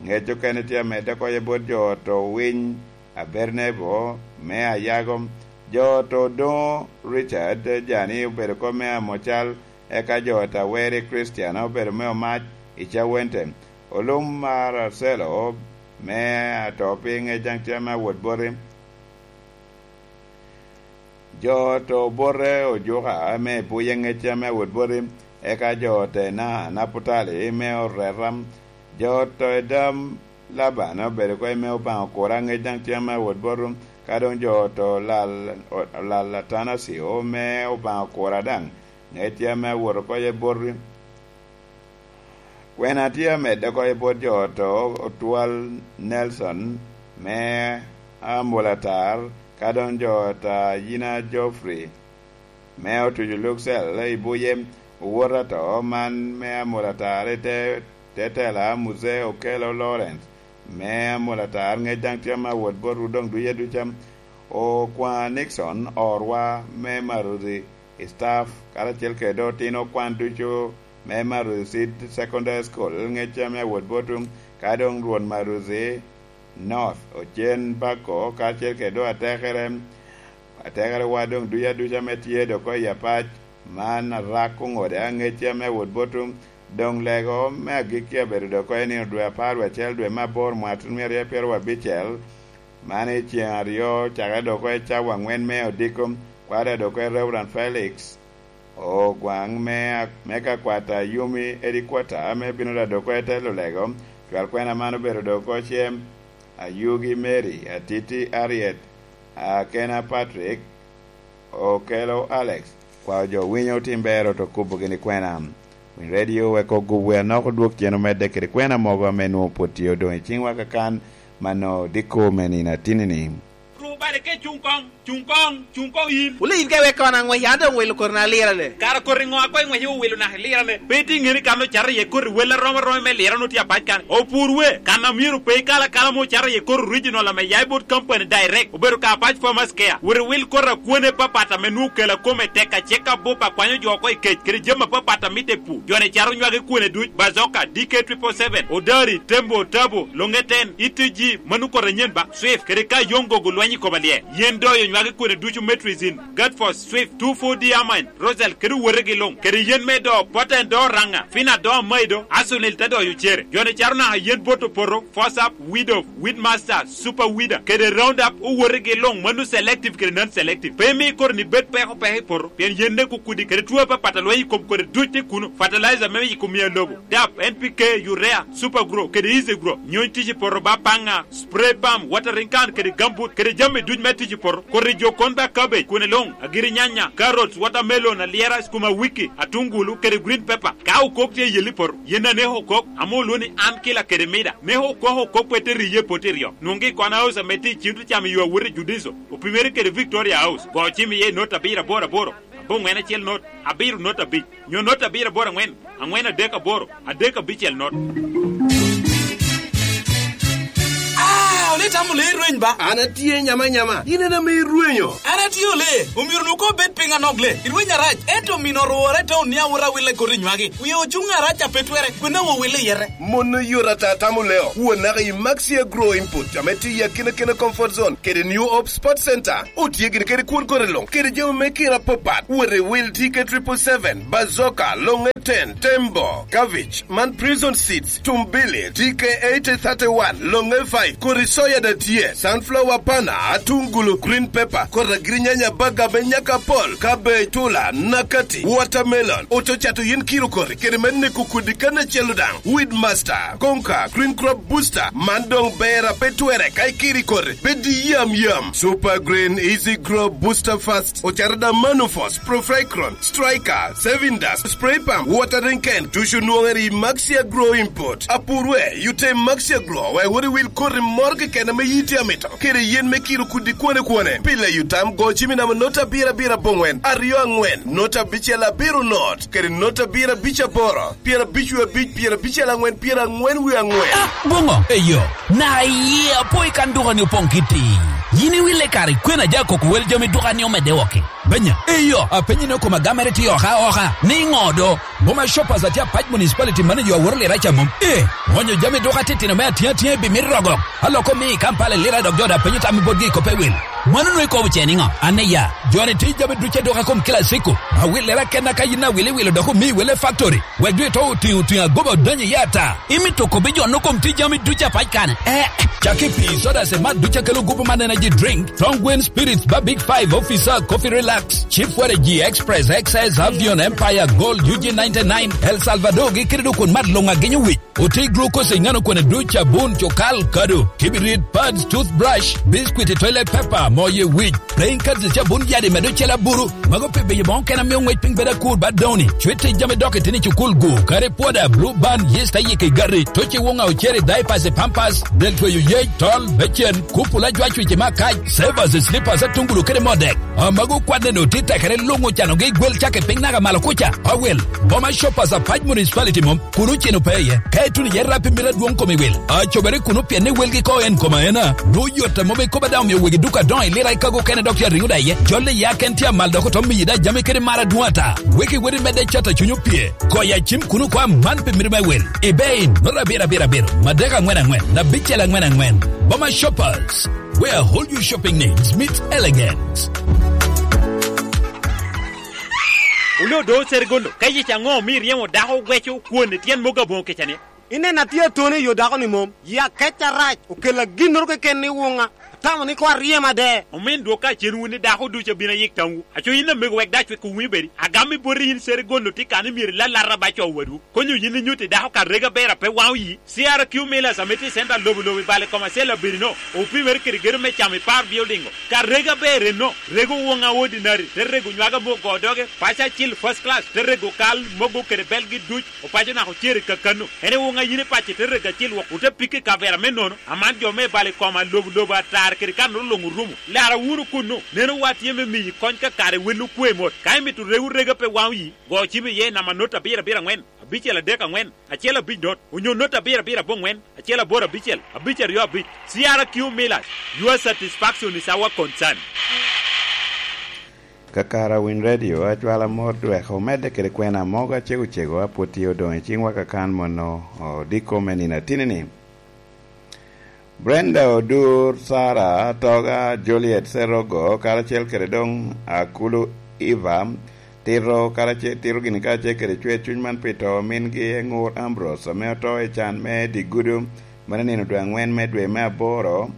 ŋec okene tye amedde oko i bot jo oto Winy Abednego me Ayago, jo oto Doŋo Richard Jani obedo oko me Amocal, eka jo oto Aweri Christian obedo me Omac i Cawente. Olum mar Arcelo me ato piny ŋec daŋ tye ame awot boti. Jo oto Obote Ojuka me Buye ŋec ame awot boti, eka jo oto Ena Naputali me Oreta. Jo oto Edam Laban obedo oko i me Obaŋa Okura ŋec daŋ tye ame awot boti, ka doŋ jo oto Lal, Lal Atanasio me Obaŋa Okura daŋ ŋec tye ame awot oko i boti. Kwena tye amedde oko i bot jo oto Otwal Nelson me Amulatar, ka doŋ jo oto Ayina Geoffrey me Otuco Luxel i Buye, owot ato man me Amulatar i te, te tela Muse Okello Lawrence me Amulatar, ŋec daŋ tye ame awot botwu doŋ duc aduca. Okwaŋ Nixon Orwa me Maruzi, staff, karacel kede otino okwan ducu me Maruzi Seed Secondary School, ŋec ame awot botwu, ka doŋ Rwot Maruzi North, Ocen Bako, karacel kede doŋ atekere, atekerewa doŋ ducu aduca ame tye dok oya pac, man arak oŋode aŋec ame awot botwu, doŋ lego me agikki abedo dok oko i nino dwe apar wie acel dwe me aboro mwaka tun myero aryo pyeraryo abicel, man i ceŋ aryo cakere dok oko i cawa aŋwen me odiko, kwada dok oko i Reverend Felix Ogwaŋ me, me ka kwata Yumi Edikwata ame bino da dok oko i telo lego, cwal kwena man obedo dok oko cem, Ayugi Mary, Atiti Ariet, Akena Patrick, Okelo Alex, kwao jo winyo otim bero to kubo gini kwena. Winy radio wek ogub wer nok odwog cen omedde kede kwena mogo ame nwoŋo pwod tye odoŋ i ciŋwa kakan, mano diko me nino atinini. Ru bale ke cuŋ koŋ, cuŋ koŋ, cuŋ koŋ yin. Wule yin ka iweko an aŋwec, an doŋ wilo koti na lirane. Kara koti ŋo a koŋ iŋwec iwilo naka ilirane? Pe itye ŋeni kan ocato iye koti wel arom aromi me lirane otye apac kan. Opur we, kan a myero pe ikal akala ame ocato iye koti original ame ya i bot company direct, obedo ka apac farmers care. Wot iwil koti a kwone papat ame nwoŋo kela kome tek acek abup akwanyo jo oko i kec, kede jami apapat a mitte i pur. Joni cato nywage kwone duc, Bazoka, D K triple seven, Odari, Tembo, Tabo, Longeten, E T G, mano koti anyen ba, Swift, kede ka Yongo gulweny i koma lye. Yen doyo nywage kwone ducu, Metrizin, Gatfos, Swift, two four D Amine, Rosal, kede wotegi luŋ, kede yen me do, Poten do Ranga, Fina do Amaido, Asunil te doyo cere. Joni cato naka yen bot opoto, Fosap, Widow, Weedmaster, Super Weeder, kede Roundup, owotegi luŋ, mano selective kede non-selective. Pe imi koti ni bed peko peko i poto, pien yen nek okudi, kede two apapat a lweny i kom kodi duc tye kuno, fertilizer me yiko miya lobo, dap, N P K, urea, Super Grow, kede Easy Grow, nyony tic i poto ba paŋa, spray pump, watering can, kede gambut, kede jami duc me tic i poto, koti jo kon ba cabbage, kwene luŋ, agiri nyanya, carrots, watermelon, alyera, skuma wiki, atungulu, kede green pepper. Ka okok tye i yelli poto, yen a neko okok, ame olwongo ni an kila kede mida, neko okok okok pe te riye poti ryo. Nwoŋgi i Kona House ame tye i Civil Cam i yo awot i Judiso, opimere kede Victoria House, go cim iye i not abiro aboro aboro. Bongwen acel not, abiro not abic, nyo not abiro aboro angwen, angwen adek aboro, adek abicel not. Ah, ole tamo le irweny ba? An atye nyama nyama, in en ame irwenyo. An atye ole, omyero nu ko bed piny anok le, irweny arac, ento mino orwore taun ni awot awille koti nywagi. Wie ocuŋ arac a pe twere, kwena wo wille yete. Mon oyot ata tamo leo, won naka i Maxi Agro Input, ame tye i akina kina Comfort Zone, kede New Hope Sports Center. Otye gin kede kwon kore luŋ, kede jami me kina apapat. Wot i wil T K triple seven, Bazooka, Longe ten, Tembo, Cabbage, man Prison Seeds, Tumbili, T K eighty thirty-one, Longe five, kodi soya da tye, sunflower pana, atungulu, green pepper, kodi agirinyanya baga me nyaka pol, cabbage, tula, nakati, watermelon, ococato yin kiro kori, kede me neko kodi kan acel odaŋ, Weed Master, Conquer, Green Crop Booster, man doŋ ber a pe twere ka ikiri kori, pe di yam yam. Super Green Easy Grow Booster Fast, ocaro da Manufos, Profecron, Striker, Saving Dust, Spray Pump, Watering Can, ducu nwoŋere i Maxi Agro Import. Apurwe, yute Maxi Agro, wek wot iwil koti moro keken ame yiti amito, kede yen me kiro kudi kwane kwane. Pile yutam go cimi namo not abiro abiro abongwen, aryo angwen, not abicel abiro not, kede not abiro abic aboro, pyera abic wie abic, pyera abicel angwen, pyera angwen wie angwen. Ah, boŋo? Eyo, na iye apo i kan duka ni opoŋ kiti. Yin iwille kare, kwena ja koko wel jami duka ni omedde woko. Benya, eyo, apenyi ni okoma gamere tye oka oka, ni ŋo do? Boma Shoppers atye apac municipality manager aworo lira ca mom. Eh, ŋonyo jami duka titino me atiŋ atiŋ i bimit rogo. Aloko mi i Kampala lira dok jo da penyo tam i botgi i kop ewil. Mano nwe ikobo ce niŋo? An iya, joni tye jami duc aduka kom kila ciko. Awillera kenna ka yin awilo iwilo dok omi wele factory. Wek dwe to otiŋo otiŋo agoba odonyo iye ata. Imito kobbi jo no kom tye jami duc apac kane. Eh, cak i pii, soda, cemat duc akelo gupu man energy drink, Tongwen Spirits ba Big Five officer, Coffee Relax, Chief Waragi Express, X S, Avion, Empire, Gold, U G ninety-nine, El Salvador gi kede dok kun mat luŋ agenyo wic. Oti glucose i ŋano kone duc, abun, cukal, kado, kibirit, pads, toothbrush, biscuit, toilet paper, moye wic, playing cards, cabun yadi medo cel aburu. Mago pi beyo boŋo kena mio ŋwec piny bedo akur ba doni. Cwit tic jami dok itini cukul gu, kare pwoda, blue band, yeast ayike i gati, toci woŋa oceri, diapers, pampers, del tweyo yec, tol, becen, kupula, jwacwic i makac, savers, slippers, atungulu kede modek. Amago kwanne no tye tekere luŋ ocanogi i gwel cak i piny naka malo kuca. Awel, Boma Shoppers apac municipality mom, kun oceno pe iye. Ka ituno iye rap i mito adwoŋ kom i wil. Acobere kuno pien ni welgi ko en kom aena. Nwo yot a mom ikoba daŋ omio wegi duka adoŋo i lira i kago kene dok tye ariŋo da iye. Jolle ya ken tye amal dok otom miyi da jami kede mar adwoŋ ata. Weki weri medde cat a cunyo pye. Koya cim kuno kwa man pi mito me wil. I bei, noro abiro abiro abiro, madek angwen angwen, abicel angwen angwen. Boma Shoppers. Where all your shopping needs meet elegance. Wule odo Seregondo, ka yec aŋo omio iryemo dako ogweco kwon i tyen mogo aboŋo kecani? Ineno atye atone i yo dako-ni mom, yi akec arac, okella ginnoro keken ni wuŋa, atamo ni koŋ aryem ade. Omin dwok ka cen wun ni dako ducu abino ayik tamwu, aco yin amego wek dac wek owinyo bedi, agam i boti yin Seregondo tye kan ni myero ilalata ba co wadwu. Konyo yin inyutti dako ka rega ber a pe waŋo yi. C R Q Millers ame tye i center lobo lobo i bale Commercial Abirino, opimere kede gedo me camo i par building-o. Ka rega ber enno, rego woŋa ordinary, te rego nywaga me ogo doge, paco acil first class, te rego kal, mogo kede belgi duc, opaco naka ocere kakano. En i woŋa yin i paco te rego acil wok, ote pike i kavera me nono, aman jo me bale koma lobo lobo atar kede kan olo luŋ orumo. Lara wunu kunnu, neno wa tye me miyi kony ka kare wel okwe mot. Ka imito rego rega pe waŋo yi, go cim iye i namba not abiro abiro angwen, abicel adek angwen, acel abic dot, onyo not abiro abiro abongwen, acel aboro abicel, abic aryo abic. C R Q Millers, your satisfaction is our concern. Kakara Winy Radio, acwala mot dweko medde kede kwena mogo acego cego a pwod tye odoŋ i ciŋwa kakan mono odiko me nino atini-ni. Brenda Odur, Sara Atoga, Juliet Serogo, karacel kede doŋ Akulu Eva, tito karacel, tito gini karacel kede cwer cuny man pi to mingi Eŋur Ambrose, ame oto i can me dye gudo, mano nino dwe aŋwen me dwe me aboro,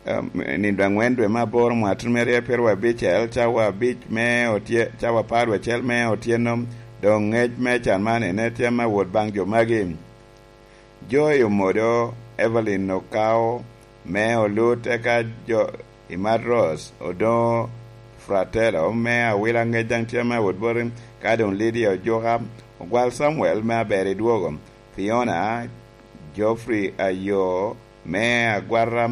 em, nino dwe aŋwen dwe me aboro mwaka tutumere pyeraryo abicel, cawa abic me otye-, cawa apar wiye acel me otyeno, doŋ ŋec me can man ene tye me wot baŋ jo magi. Joy Omodo, Evelyn Okao, me Olut, eka jo i Matros, Odoŋo Fratello, me Awila, ŋec daŋ tye me wot boti, ka doŋ Lydia Ojuka, Ogwal Samuel, me Aber i Dwogo, Fiona, Geoffrey Ayo, me Agwata,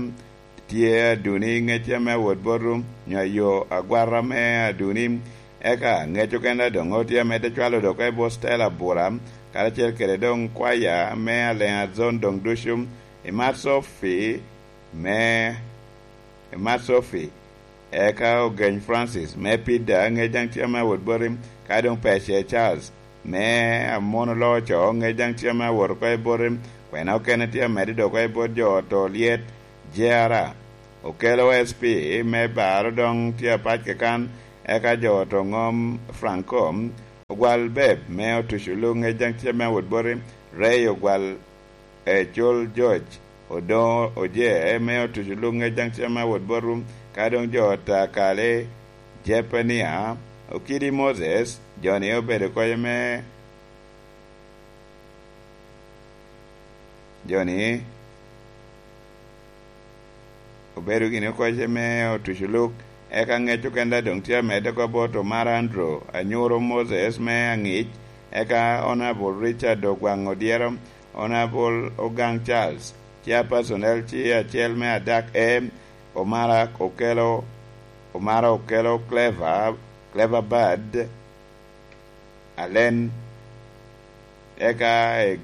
tye Aduni, ŋecce ame awot bot rum, nyo ayo agwata me Aduni. Eka ŋec okene doŋ otye amedde cwalo dok i bot Stella Bura, karacel kede doŋ kwaya me Alliance Zone doŋ ducu, i Mat Sophie me, i Mat Sophie. Eka Ogeny Francis me Pida, ŋec daŋ tye ame awot boti, ka doŋ Pece Charles me Amono Loco, ŋec daŋ tye ame awot oko i boti, kwena okene tye amedde dok oko i bot jo oto lyet, J R A. Okelo S P me Baro doŋ tye apac kekan, eka jo oto ŋom Franco, Ogwal Beb me Otuco Luk, ŋec daŋ tye ame awot boti, Ray Ogwal, Ecul George, Odoŋo Oje me Otuco Luk, ŋec daŋ tye ame awot bot rum, ka doŋ jo oto akale, Jepania, Okidi Moses, jo-ni obedo kocce me, jo-ni obedo gini kocce me Otuco Luk, eka ŋec okene doŋ tye amedde oko bot Omar Andrew, Anyuro Moses me Aŋic, eka Honorable Richard Ogwaŋ Odyero, Honorable Ogang Charles, Chairperson L C acel me Adak A, Omara Okelo, Omara Okelo Clever, Clever Bad, Alen, eka e,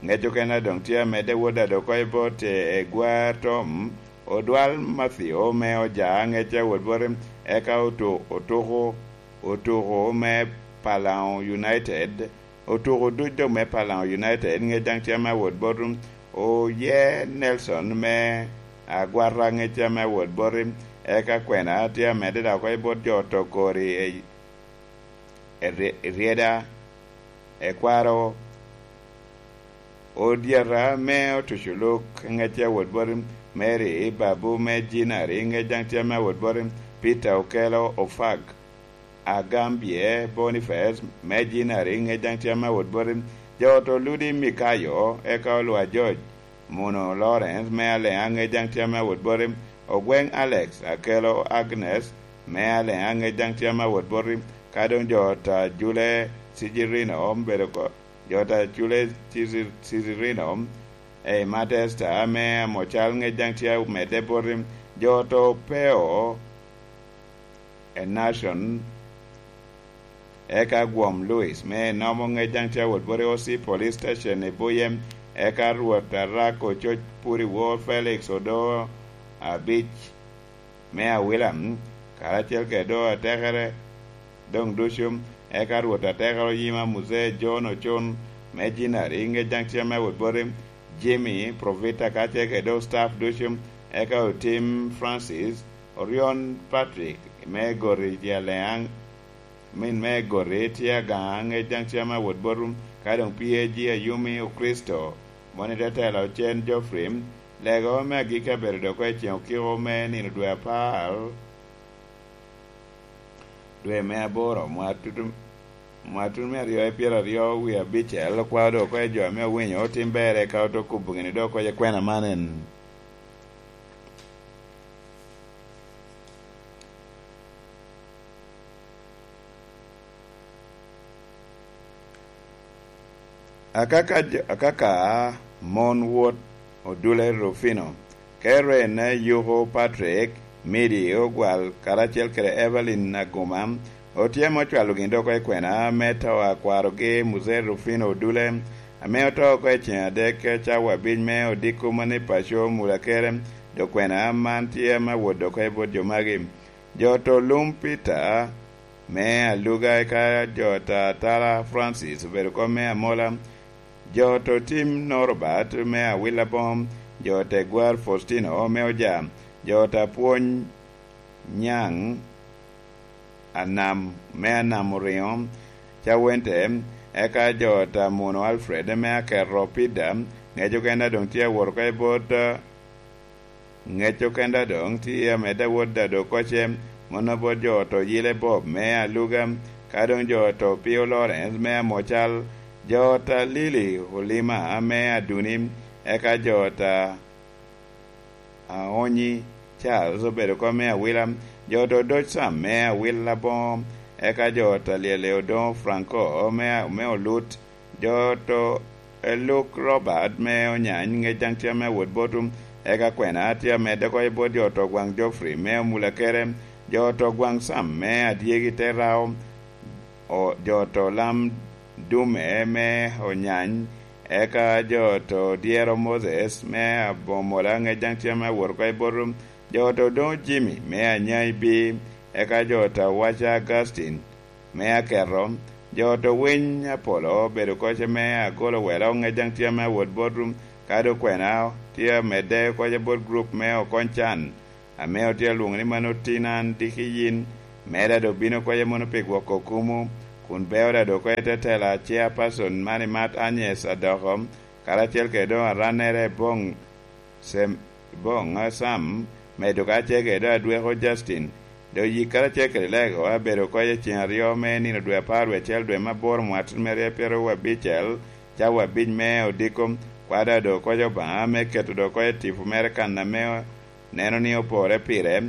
ŋec okene doŋ tye amedde wot ado oko i bot e, Egwa Tom, Odwal Matthew me Oja, ŋec awot boti, eka otu-, otuku, otuku me Palaŋo United, otuku duc doŋ me Palaŋo United, ŋec daŋ tye ame awot boti, Oye Nelson me Agwata, ŋec tye ame awot boti, eka kwena tye amedde dok oko i bot jo oto kori, e, Eri-, Eryeda, Ekwaro, Odyeta me Otuco Luk, ŋec awot boti, Mary Babu me Jinari, ŋec daŋ tye ame awot boti, Peter Okelo Ofak, Agambye Boniface me Jinari, ŋec daŋ tye ame awot boti, jo oto Ludi Mikayo, eka Olwa George, Muno Lawrence me Aleŋa, ŋec daŋ tye ame awot boti, Ogweŋ Alex, Akelo Agnes me Aleŋa, ŋec daŋ tye ame awot boti, ka doŋ jo ot a Jule Cicirino obedo oko, jo ot a Jule Cici-, Cicirino, ei Matesta me Amocal, ŋec daŋ tye amedde boti, jo oto Opeo, Enashon, eka Gwom Louis me Enomo, ŋec daŋ tye awot boti, O C Police Station i Buye, eka Rwot Arak Ococ Puriwo, Felix Odo Abic me Awila, karacel kede do atekere doŋ ducu, eka Rwot Atekere Oyima Muzee John Ocun me Jinari, ŋec daŋ tye ame awot boti, Jimmy Provita, karacel kede do staff ducu, eka Otim Francis, Orion Patrick me Gori Jaleaŋ, min me Gori tye Agaŋa, ŋec daŋ tye ame awot boti, ka doŋ P A G Ayumi Okricito, moni te telo Ocen Geoffrey, lego me agikki abedo dok oko i ceŋ okiko me nino dwe apar, dwe me aboro, mwatutu, mwatutu me aryo i pyeraryo wie abicel, okwao dok oko i jo ame owinyo otim berre, ka ote kubo gini dok oko i kwena man en. Akaka, akaka mon wot Odule Rufino, Karen Yuko Patrick, Midi Ogwal, karacel kede Evelyn Aguma, otyemo cwalo gin dok oko i kwena me to a kwarogi Muzee Rufino Odule, ame oto oko i ceŋ adek cawa abic me odiko mani paco Mulakere, dok kwena man tye ame awot dok oko i bot jo magi. Jo oto Lum Peter me Aluga, eka jo oto Atala Francis obedo kom me Amola, jo oto Tim Norbert me Awila Bom, jo oto Egwar Faustino me Oja, jo oto Apwony Nyaŋ Anam me Anam Oriŋo, Cawente, eka jo oto Amuno Alfred me Aketo Pida, ŋec okene doŋ tye awot oko i bot Ŋec okene doŋ tye amedde awot Dado Koce, mano bot jo oto Yile Bob me Aluga, ka doŋ jo oto Pio Lawrence me Amocal, jo oto Lili Olima me Aduni, eka jo oto Aonyi Charles obedo kom me Awila, jo oto Doc Sam me Awila Boŋo, eka jo oto Lyele Odoŋo Franco me, me Olut, jo oto Eluk Robert me Onyany, ŋec daŋ tye ame awot botum, Eka kwena tye amedde oko i bot jo oto gwaŋ Geoffrey me Omulakere, jo oto gwaŋ Sam me Adyegi te Rao, o-, jo oto lam Dume me Onyany, eka jo oto dyero Moses me Abomola ŋec daŋ tye ame awot oko i bot jo oto doŋ Jimmy me Anyai Bi, eka jo oto awaca Augustine me Aketo, jo oto winy apolo obedo koce me agolo welo ŋec daŋ tye ame awot bot ka dokwena tye amedde koce bot grup me Okony Can, ame otye alwoŋo ni mano tin an diki yin, mera doŋ bino koce mono pi gwoko kumu, kun beo da doŋ koce te tela chairperson man i mat Agnes Adoko, karacel kede doŋ arannere Boŋ Sem-, Boŋ Sam, medo karacel kede doŋ adweko Justin. Doŋ yik karacel kede lego abedo koce ceŋ aryo me nino dwe apar wie acel dwe me aboro mwaka atin me ryo pyeraryo abicel, cawa abic me odiko, kwada doŋ koce Obaŋa me keto doŋ koce tipo mere kan ame neno ni opore pire,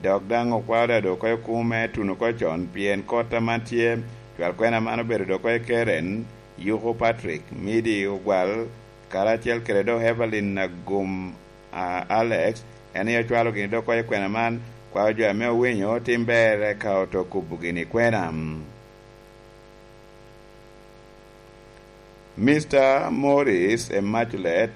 dok daŋ okwao da doŋ oko i kumo me tuno oko con, pien kot aman tye, cwal kwena man obedo doŋ oko i Keren, Yuko Patrick, Midi Ogwal, karacel kede doŋ Evelyn Agum, a, Alex, en aye ocwalo gini doŋ oko i kwena man, kwao jo ame owinyo tim ber eka oto kubo gini kwena. Mister Morris Immaculate,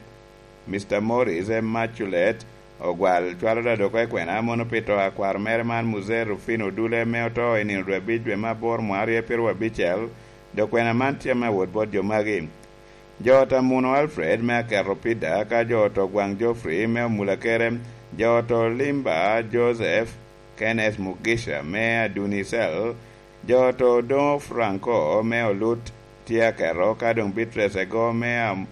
Mister Morris Immaculate Ogwal cwalo da doŋ oko i kwena mono pi to a kwaro mere man Muzee Rufino Odule me oto i nino dwe abic dwe me aboro mwaka aryo pyeraryo abicel, doŋ kwena man tye ame awot bot jo magi. Jo oto Amuno Alfred me Aketo Pida, ka jo oto Gwaŋ Geoffrey me Omulakere, jo oto Limba Joseph, Kenneth Mugisha me Adunicel, jo oto Odoŋo Franco me Olut tye aketo, ka doŋ Beatrice Ego me Am-,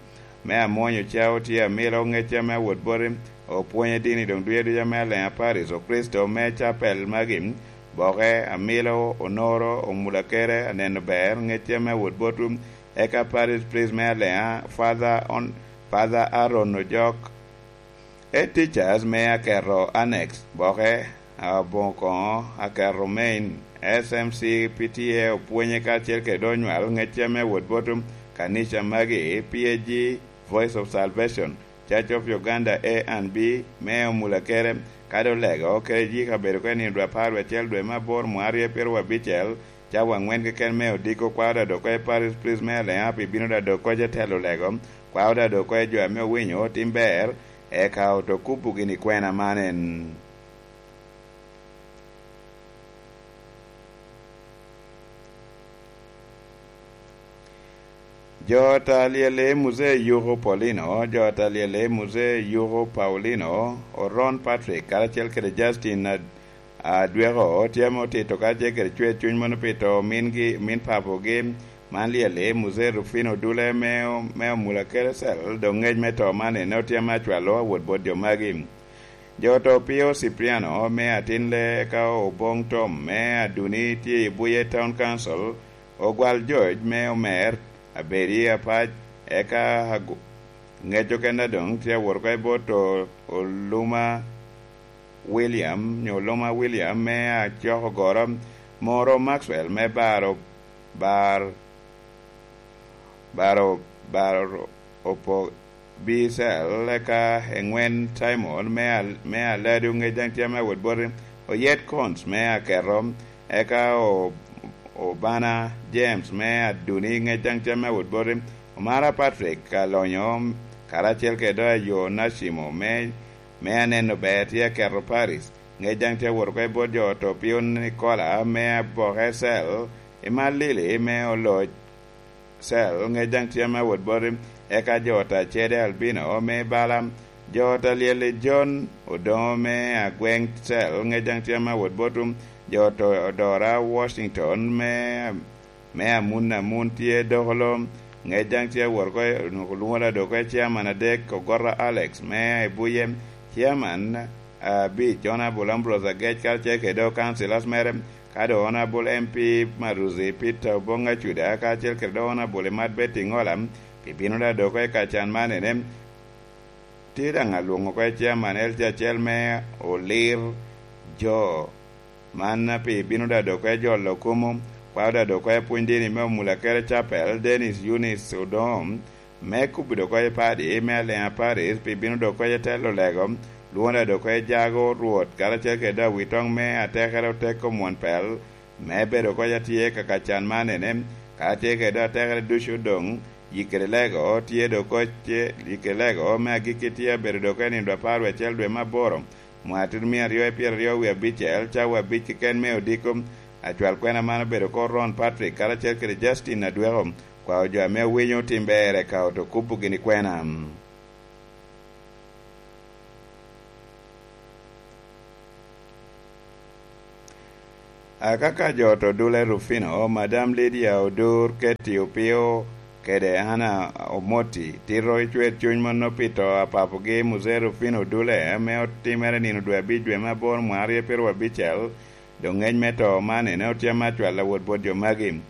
me Amwonyo Cao tye amilo ŋecce me awot boti, opwonye dini doŋ duye duca me Aleŋa Paris, Okricito me Capel magi, Boke, amilo, Onoro, Omulakere, aneno ber, ŋecce me awot botwu, eka Paris Priest me Aleŋa, Father On-, Father Aaron Ojok, Head teachers me Aketo Annex, Boke, Aboŋo Koŋo, Aketo Main, S M C P T A opwonye karacel kede onywal ŋecce me wot bot kanica magi, P A G, Voice of Salvation, Church of Uganda A and B, me Omulakere, kadi Olego, kede yika bedo kede nino dwe apar wie acel dwe me aboro mwaka aryo pyeraryo abicel, cawa aŋwen keken me odiko kwao da doŋ oko i Parish Priest me Aleŋa pi bino da doŋ oko i telo Olego, kwao da doŋ oko i jo ame owinyo tim ber, eka oto kubo gini kwena man en. Jo ta lyel i Muzee Yuko Paulino, jo ta lyel i Muzee Yuko Paulino, Oron Patrick, karacel kede Justin Ad-, Adweko, tye ame otito karacel kede cwer cuny mono pi to mingi, min papogi, man lyel i Muzee Rufino Dule me, me Omula Kerecel, doŋ ŋec me to man ene otye ame acwalo awot bot jo magi. Jo to Pio Cipriano me Atinle, ka Oboŋ Tom me Aduni tye i Buye Town Council, Ogwal George me Omer, Abedi Apac, eka agu-, ŋec okene doŋ tye awot oko i bot O-, Oluma William, nyo Oluma William me Acok Ogoro, Moro Maxwell me Baro, Bar, Baro, Baro Opo Bicel, eka Eŋwen Simon me Al-, me Aladu, ŋec daŋ tye ame awot boti, Oyet Cons me Aketo, eka O-, Obana James me Aduni, ŋec daŋ tye ame awot boti, Omara Patrick Alonyo, karacel kede Ayo Nacimo me, me Aneno Ber tye Aketo Paris, ŋec daŋ tye awot oko i bot jo oto Pio Nicola me Aboke Cell, Imalili me Oloc, Cell, ŋec daŋ tye ame awot boti, eka jo ta Cede Albino me Bala, jo ta Lyel i John Odoŋo me Agweŋ Cell, ŋec daŋ tye ame awot botwu, jo ta Odora Washington me, me Amun Amun tye Dokolo, ŋec daŋ tye awot oko, olwoŋo da doŋ oko i Chairman adek, Ogota Alex me Ibuye, Chairman, ah, abic, Honorable Ambrose Agec, karacel kede doŋ councillors mere, ka doŋ Honorable M P Maruzi Peter Oboŋ Acuda, karacel kede doŋ Honorable Imat Betty Ŋola, pi bino da doŋ oko i kacan man ene. Tye daŋ alwoŋo oko i Chairman L C acel me Olir Jo, man pi bino da doŋ oko i jolo kumo, kwao da doŋ oko i pwony dini me Omulakere Chapel, Dennis Eunice Odoŋo, me kubo dok oko i padi me Aleŋa Paris pi bino dok oko i telo lego, lwonda dok oko i jago Rwot, karacel kede dok awitoŋ me atekere oteko Mwon Pel, me bedo oko atye ka ka can man ene, karacel kede dok atekere ducu doŋ, yikkere lego tye dok oko ce, yikkere lego me agikki tye abedo dok oko i nino dwe apar wiye acel dwe me aboro, mwaka tutumia aryo i pyeraryo wie abicel, cawa abic keken me odiko. Acwal kwena man obedo oko Ron Patrick karacel kede Justin Adweko, kwao jo ame owinyo tim berre ka oto kubo gini kwena. Akaka jo to dule Rufino, Madam Lydia Odur, Katie Opio, kede Anna Omoti, tito i cwer cuny mono pi to a papogi Muzee Rufino Dule, ame otimere nino dwe abic dwe me aboro mwaka aryo pyeraryo abicel, doŋ ngec me to man ene otyem acwal awot bot jo magi.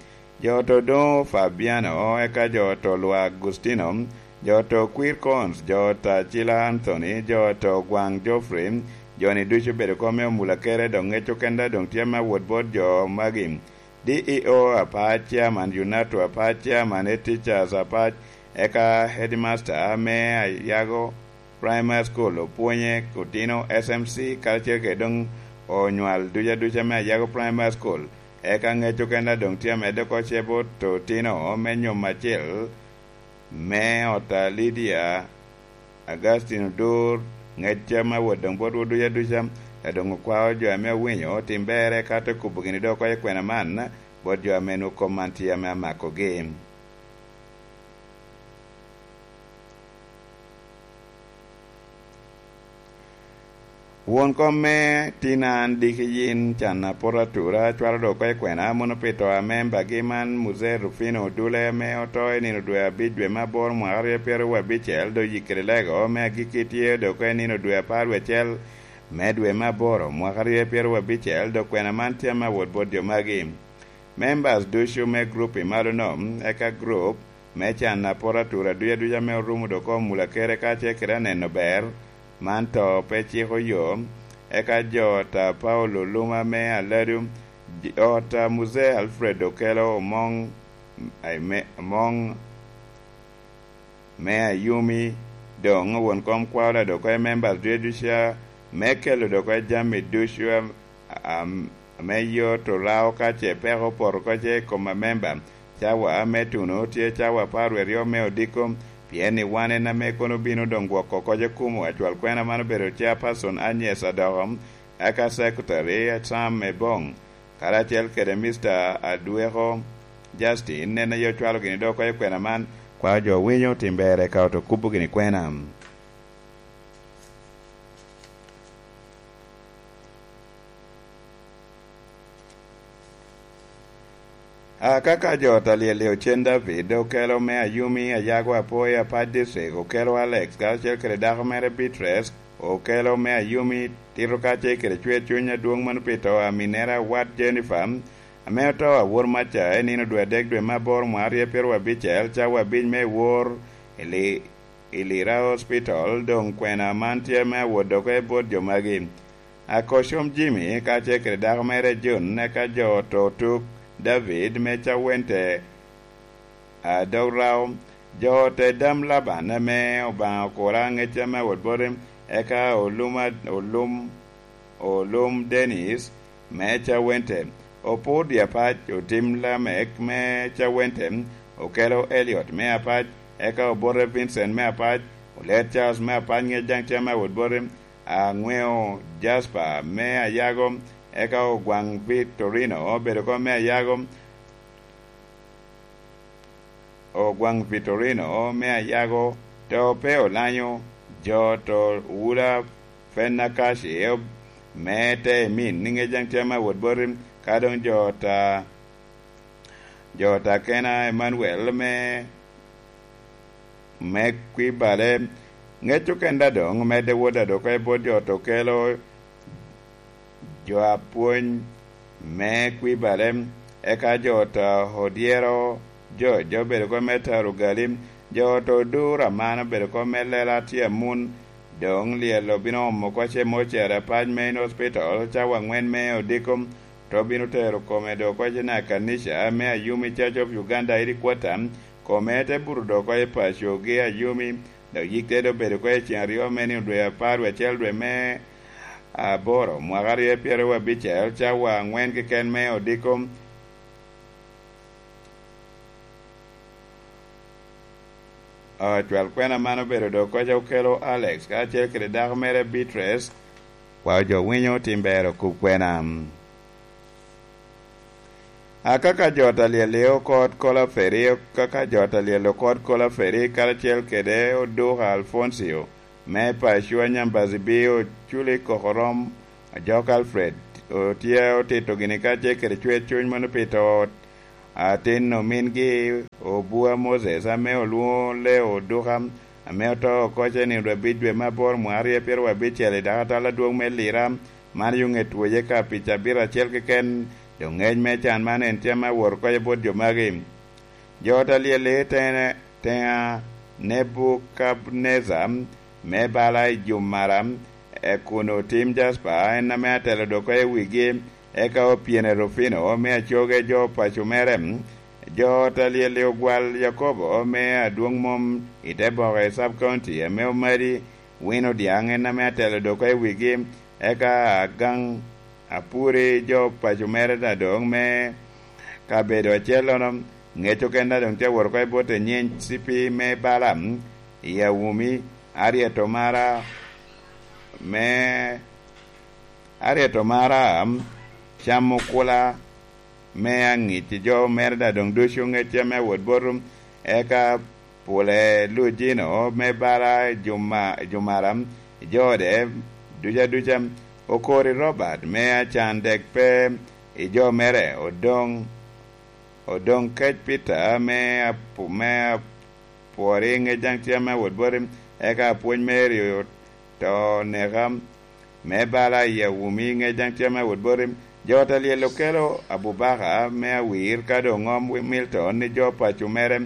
Jo to doŋ Fabiano, eka jo to Lwa Agustino, jo to Quircons, jo to Acila Anthony, jo to Gwaŋ Geoffrey, jo-ni ducu obedo oko me omula kere, dok ŋec okenda doŋ tye me awot bot jo magi. D E O apac, Chairman Yunato apac, Chairman Head Teachers apac, eka Headmaster me Ayago Primary School, opwonye otino S M C, karacel kede doŋ onywal duc aduca me Ayago Primary School. Eka ŋec okenda doŋ tye amedde oko ce bot otino me nyom acel me ot a Lydia Augustine Odur, ŋec me awot doŋ botwu duc aduca, a doŋ okwao jo ame owinyo otim berre, ka te kubo gini dok oko i kwena man bot jo ame nwoŋo kop man tye ame amakogi. Won kom me tin an diki yin can apot atura, cwalo dok oko i kwena, mono pi to a membagi man, Muzee Rufino Odule, ame oto i nino dwe abic dwe me aboro mwaka aryo pyeraryo abicel, dok yikkere lego me agikki tye dok oko i nino dwe apar wie acel me dwe me aboro mwaka aryo pyeraryo abicel, dok kwena man tye ame awot bot jo magi. Members ducu me group i malo-no, eka group me can apot atura duc aduca ame orumo dok omula kere kacel kede aneno ber, man to pe ciko yo, eka jo ot a Paulo Luma me Aladu, j-, ot a Muzee Alfred Okelo Omoŋ, ai, me, Omoŋ me Ayumi, doŋ won kom kwao ladok oko i members ducu aduca, me kelo dok oko i jami ducu a, a, ame yot orao ka ce peko opoto oko ce i kom amemba. Cawa me tuno tye cawa apar wie aryo me odiko, pien ni wan en ame kono obino doŋ gwoko oko ce kumo. Acwal kwena man obedo Chairperson Agnes Adoko, eka Secretary Sam Ebong, karacel kede Mister Adweko Justin, en aye ocwalo gini dok oko i kwena man, kwao jo owinyo otim berre ka oto kubo gini kwena. Akaka jo ot a Lyel Ocen David, Okelo me Ayumi, Ayago Apoya Apac District, Okelo Alex, karacel kede dako mere Beatrice, Okelo me Ayumi, tito kacel kede cwer cuny adwoŋ mano pi to a minere awat Jennifer, ame oto awor maca i nino dwe adek dwe me aboro mwaka aryo pyeraryo abicel, cawa abic me wor i Li-, i Lira Hospital, doŋ kwena man tye me awot dok oko i bot jo magi. Akocom Jimmy kacel kede dako mere June, eka jo oto tuk David me Cawente, a, dog rao, jo ote dam Laban ame Obaŋa okura ŋec ame awot boti, eka Olum, Olum, Olum Dennis me Cawente, Opudi Apac, Otim Lamek me Cawente, Okelo Eliot me Apac, eka Obote Vincent me Apac, Olet Charles me Apac ŋec daŋ tye ame awot boti, Aŋweo Jasper me Ayago, eka Ogwaŋ Victorino obedo oko me Ayago, Ogwaŋ Victorino me Ayago, to pe olanyo, jo to Wula Fenakaci me te emin, ni ŋec daŋ tye ame awot boti, ka doŋ jo ta, jo ta Kena Emmanuel me, me Kwibale, ŋec okenda doŋ medde wot adoko i bot jo to kelo jo apwony me Kwibale, eka jo to odyero, jo, jo obedo oko me taro gali, jo to oduro aman obedo oko me lela tye amun, doŋ Lyel obino omo oko ce mocere apac me in hospital, cawa aŋwen me odiko, to bino tero kome dok oko ce na kanica me Ayumi Church of Uganda headquarter, kome te buto dok oko i pacogi a Yumi, dok yik te dok bedo oko i ceng aryo me nino dwe apar wie acel dwe me aboro mwaka aryo pyeraryo abicel cawa angwen keken me odiko. Ocwal kwena man obedo dok koca okelo Alex kacel kede dako mere Beatrice. Wa jo winyo tim ber okub kwena. Akaka jo ta lyel i okot kola feri, kaka jo ta lyel okot kola feri karacel kede oduka Alfoncio me paco Anyambazi bi oculi kokorom ajok Alfred otye otito gini kacel kede cwer cuny mono pi to atin omingi obua Moses ame olwoŋo Leo Oduka, ame oto oko cen i rwebbic dwe me aboro mwaka aryo pyeraryo abicel i dakatal adwoŋ me Lira. Man yo ŋet woye ka pi cabit acel keken, doŋ ŋec me can man en cam me awot oko i bot jo magi. Jo ta lyel i tene teŋa Nebukadnezar me bala i jumara, e kun otim Jaspa, en ame atelo doko i wigi, eka opyene Rufino me acoge jo paco mere. Jo ta lyel i ogwal Yakobo me adwoŋ mom i te boko i sub county ame omadi wino diaŋ, en ame atelo doko i wigi, eka agaŋ apuri jo paco mere na doŋ me kabedo acellono, ŋec okenda doŋ tye awot oko i bot enyiny cipi me Balaam i Awumi, aryeto mara me, aryeto mara camo kula me aŋic i jo mere da doŋ ducu ŋecce me awot boto, eka pule lujino me bala i juma, i jumara, i jo ode duca duca, okori Robert me acan dek pe i jo mere, odoŋ, odoŋ kec Peter me apu-, me apwori ŋec daŋ tye me awot boti, eka apwony Mary oto neka me bala i Awumi ŋec daŋ tye me awot boti. Jo ta lyel okelo Abubaka me awir ka doŋ ŋom Milton ni jo paco mere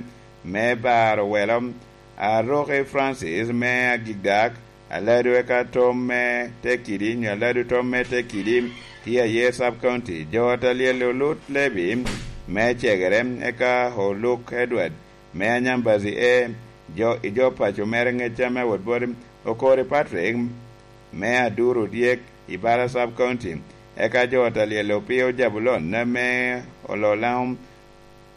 me baro welo, Aroki Francis me agikdak, Aladu eka tom me Tekidi, nyo Aladu tom me Tekidi, tye aye sub county. Jo ta lyel olut Lebi me cegere, eka Oluk Edward me Anyambazi e jo, i jo paco mere ŋecca me awot boti, Okori Patrick me Aduru dyek i Bala sub county, eka jo ta lyel opio Jabulon me Ololaŋo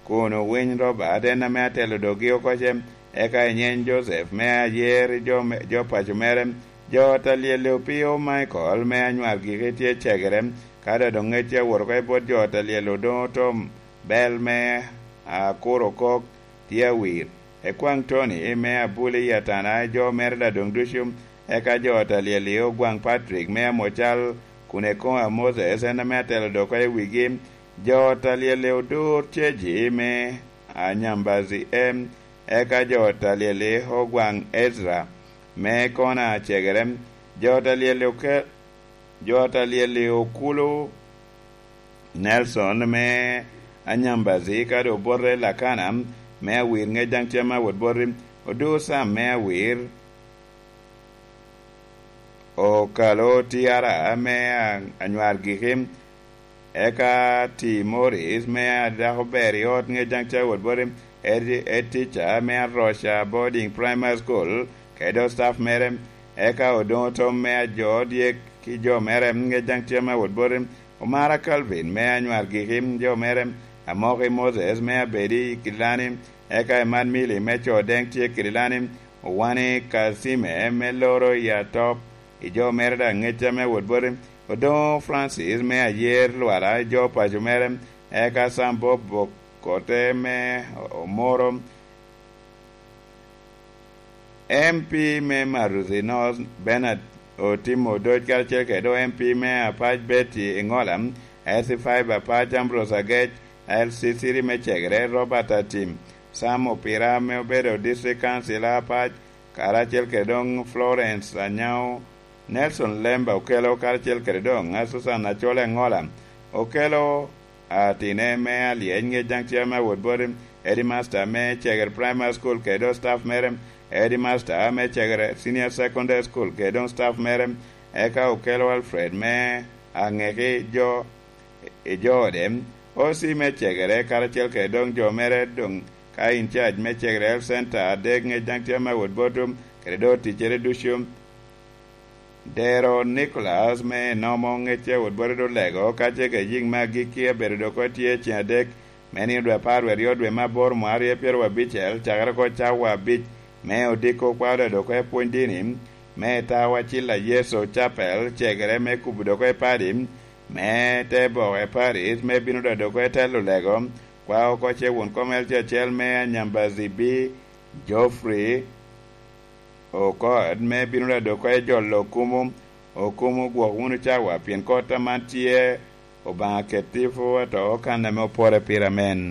kun owiny Robert, en ame atelo doggi oko ce, eka inyeny Joseph me ayer i jo me, jo paco mere. Jo ta lyel opio Michael me anywar giki tye cegere, ka doŋ ŋecce awot oko i bot jo ta lyel odoŋo tom bel me akuro kok tye awir. Ekwaŋ Tony me abuli i atana i jo mere da doŋ ducu, eka jo ta lyel i ogwaŋ Patrick me amocal kun ekoŋo a Moses, en ame atelo doko i wigi. Jo ta lyel i odur ceji me Anyambazi em, eka jo ta lyel i ogwaŋ Ezra me kona cegere. Jo ta lyel i oke-, jo ta lyel i okulu Nelson me Anyambazi, kadi obote Lakana me awir ŋec daŋ tye me awot boti, odur Sam me awir, okalo Tiara me a-, anywar giki, eka Ti Morris me adako ber i ot ŋec daŋ tye awot boti, Edi-, Etica me Aroca Boarding Primary School, kede staff mere, eka odoŋo tom me ajo dyek ki jo mere ŋec daŋ tye me awot boti, Omara Calvin me anywar giki jo mere, Amoki Moses me abedi i Kilani, eka Emad Mili me co deŋ tye Kilani, Owani Kacime me loro i atop i jo mere da ŋecca me awot boti, Odoŋo Francis me ayer Lwala i jo paco mere, eka Sam Bob Bokote me Omoro, M P me Maruthi North Bernard Otimo Odoc karacel kede M P me Apac Betty Engola, S C five Apac Ambrose Agec, L C three me Cegere Robert Atim, Sam Opira ame obedo District Councilor Apac, karacel kede doŋ Florence Anyao, Nelson Lemba Okelo, karacel kede doŋ Susan Achol Engola Okelo, atine me alyec ŋec daŋ tye me awot boti, headmaster me Cegere Primary School kede doŋ staff mere, headmaster me Cegere Senior Secondary School kede doŋ staff mere, eka Okelo Alfred me aŋeki jo i jo ode, O C me Cegere karacel kede doŋ jo mere doŋ ka in cac me Cegere Health Center adek ŋec daŋ tye ame awot botwu kede do ticcere ducu. Dero Nicholas me enomo ŋec awot botwu do lego ka ce ka yiŋ me agikki abedo dok tye ceŋ adek me nino dwe apar wie aryo dwe me aboro mwa aryo pyero abicel cakere oko cawa abic me odiko kwao dok oko epwony dini me Tawa Cilla Yecu Capel Cegere me kubo dok oko epadi me te boke paris me bino dok oko etelo lego kwao oko ce wun kom elce acel me Anyambazibi Geoffrey Okot me bino dok oko ejolo okumu okumu gwok wunu cawa pien kot aman tye Obaŋa ketifu ato kan ame opore pire amen.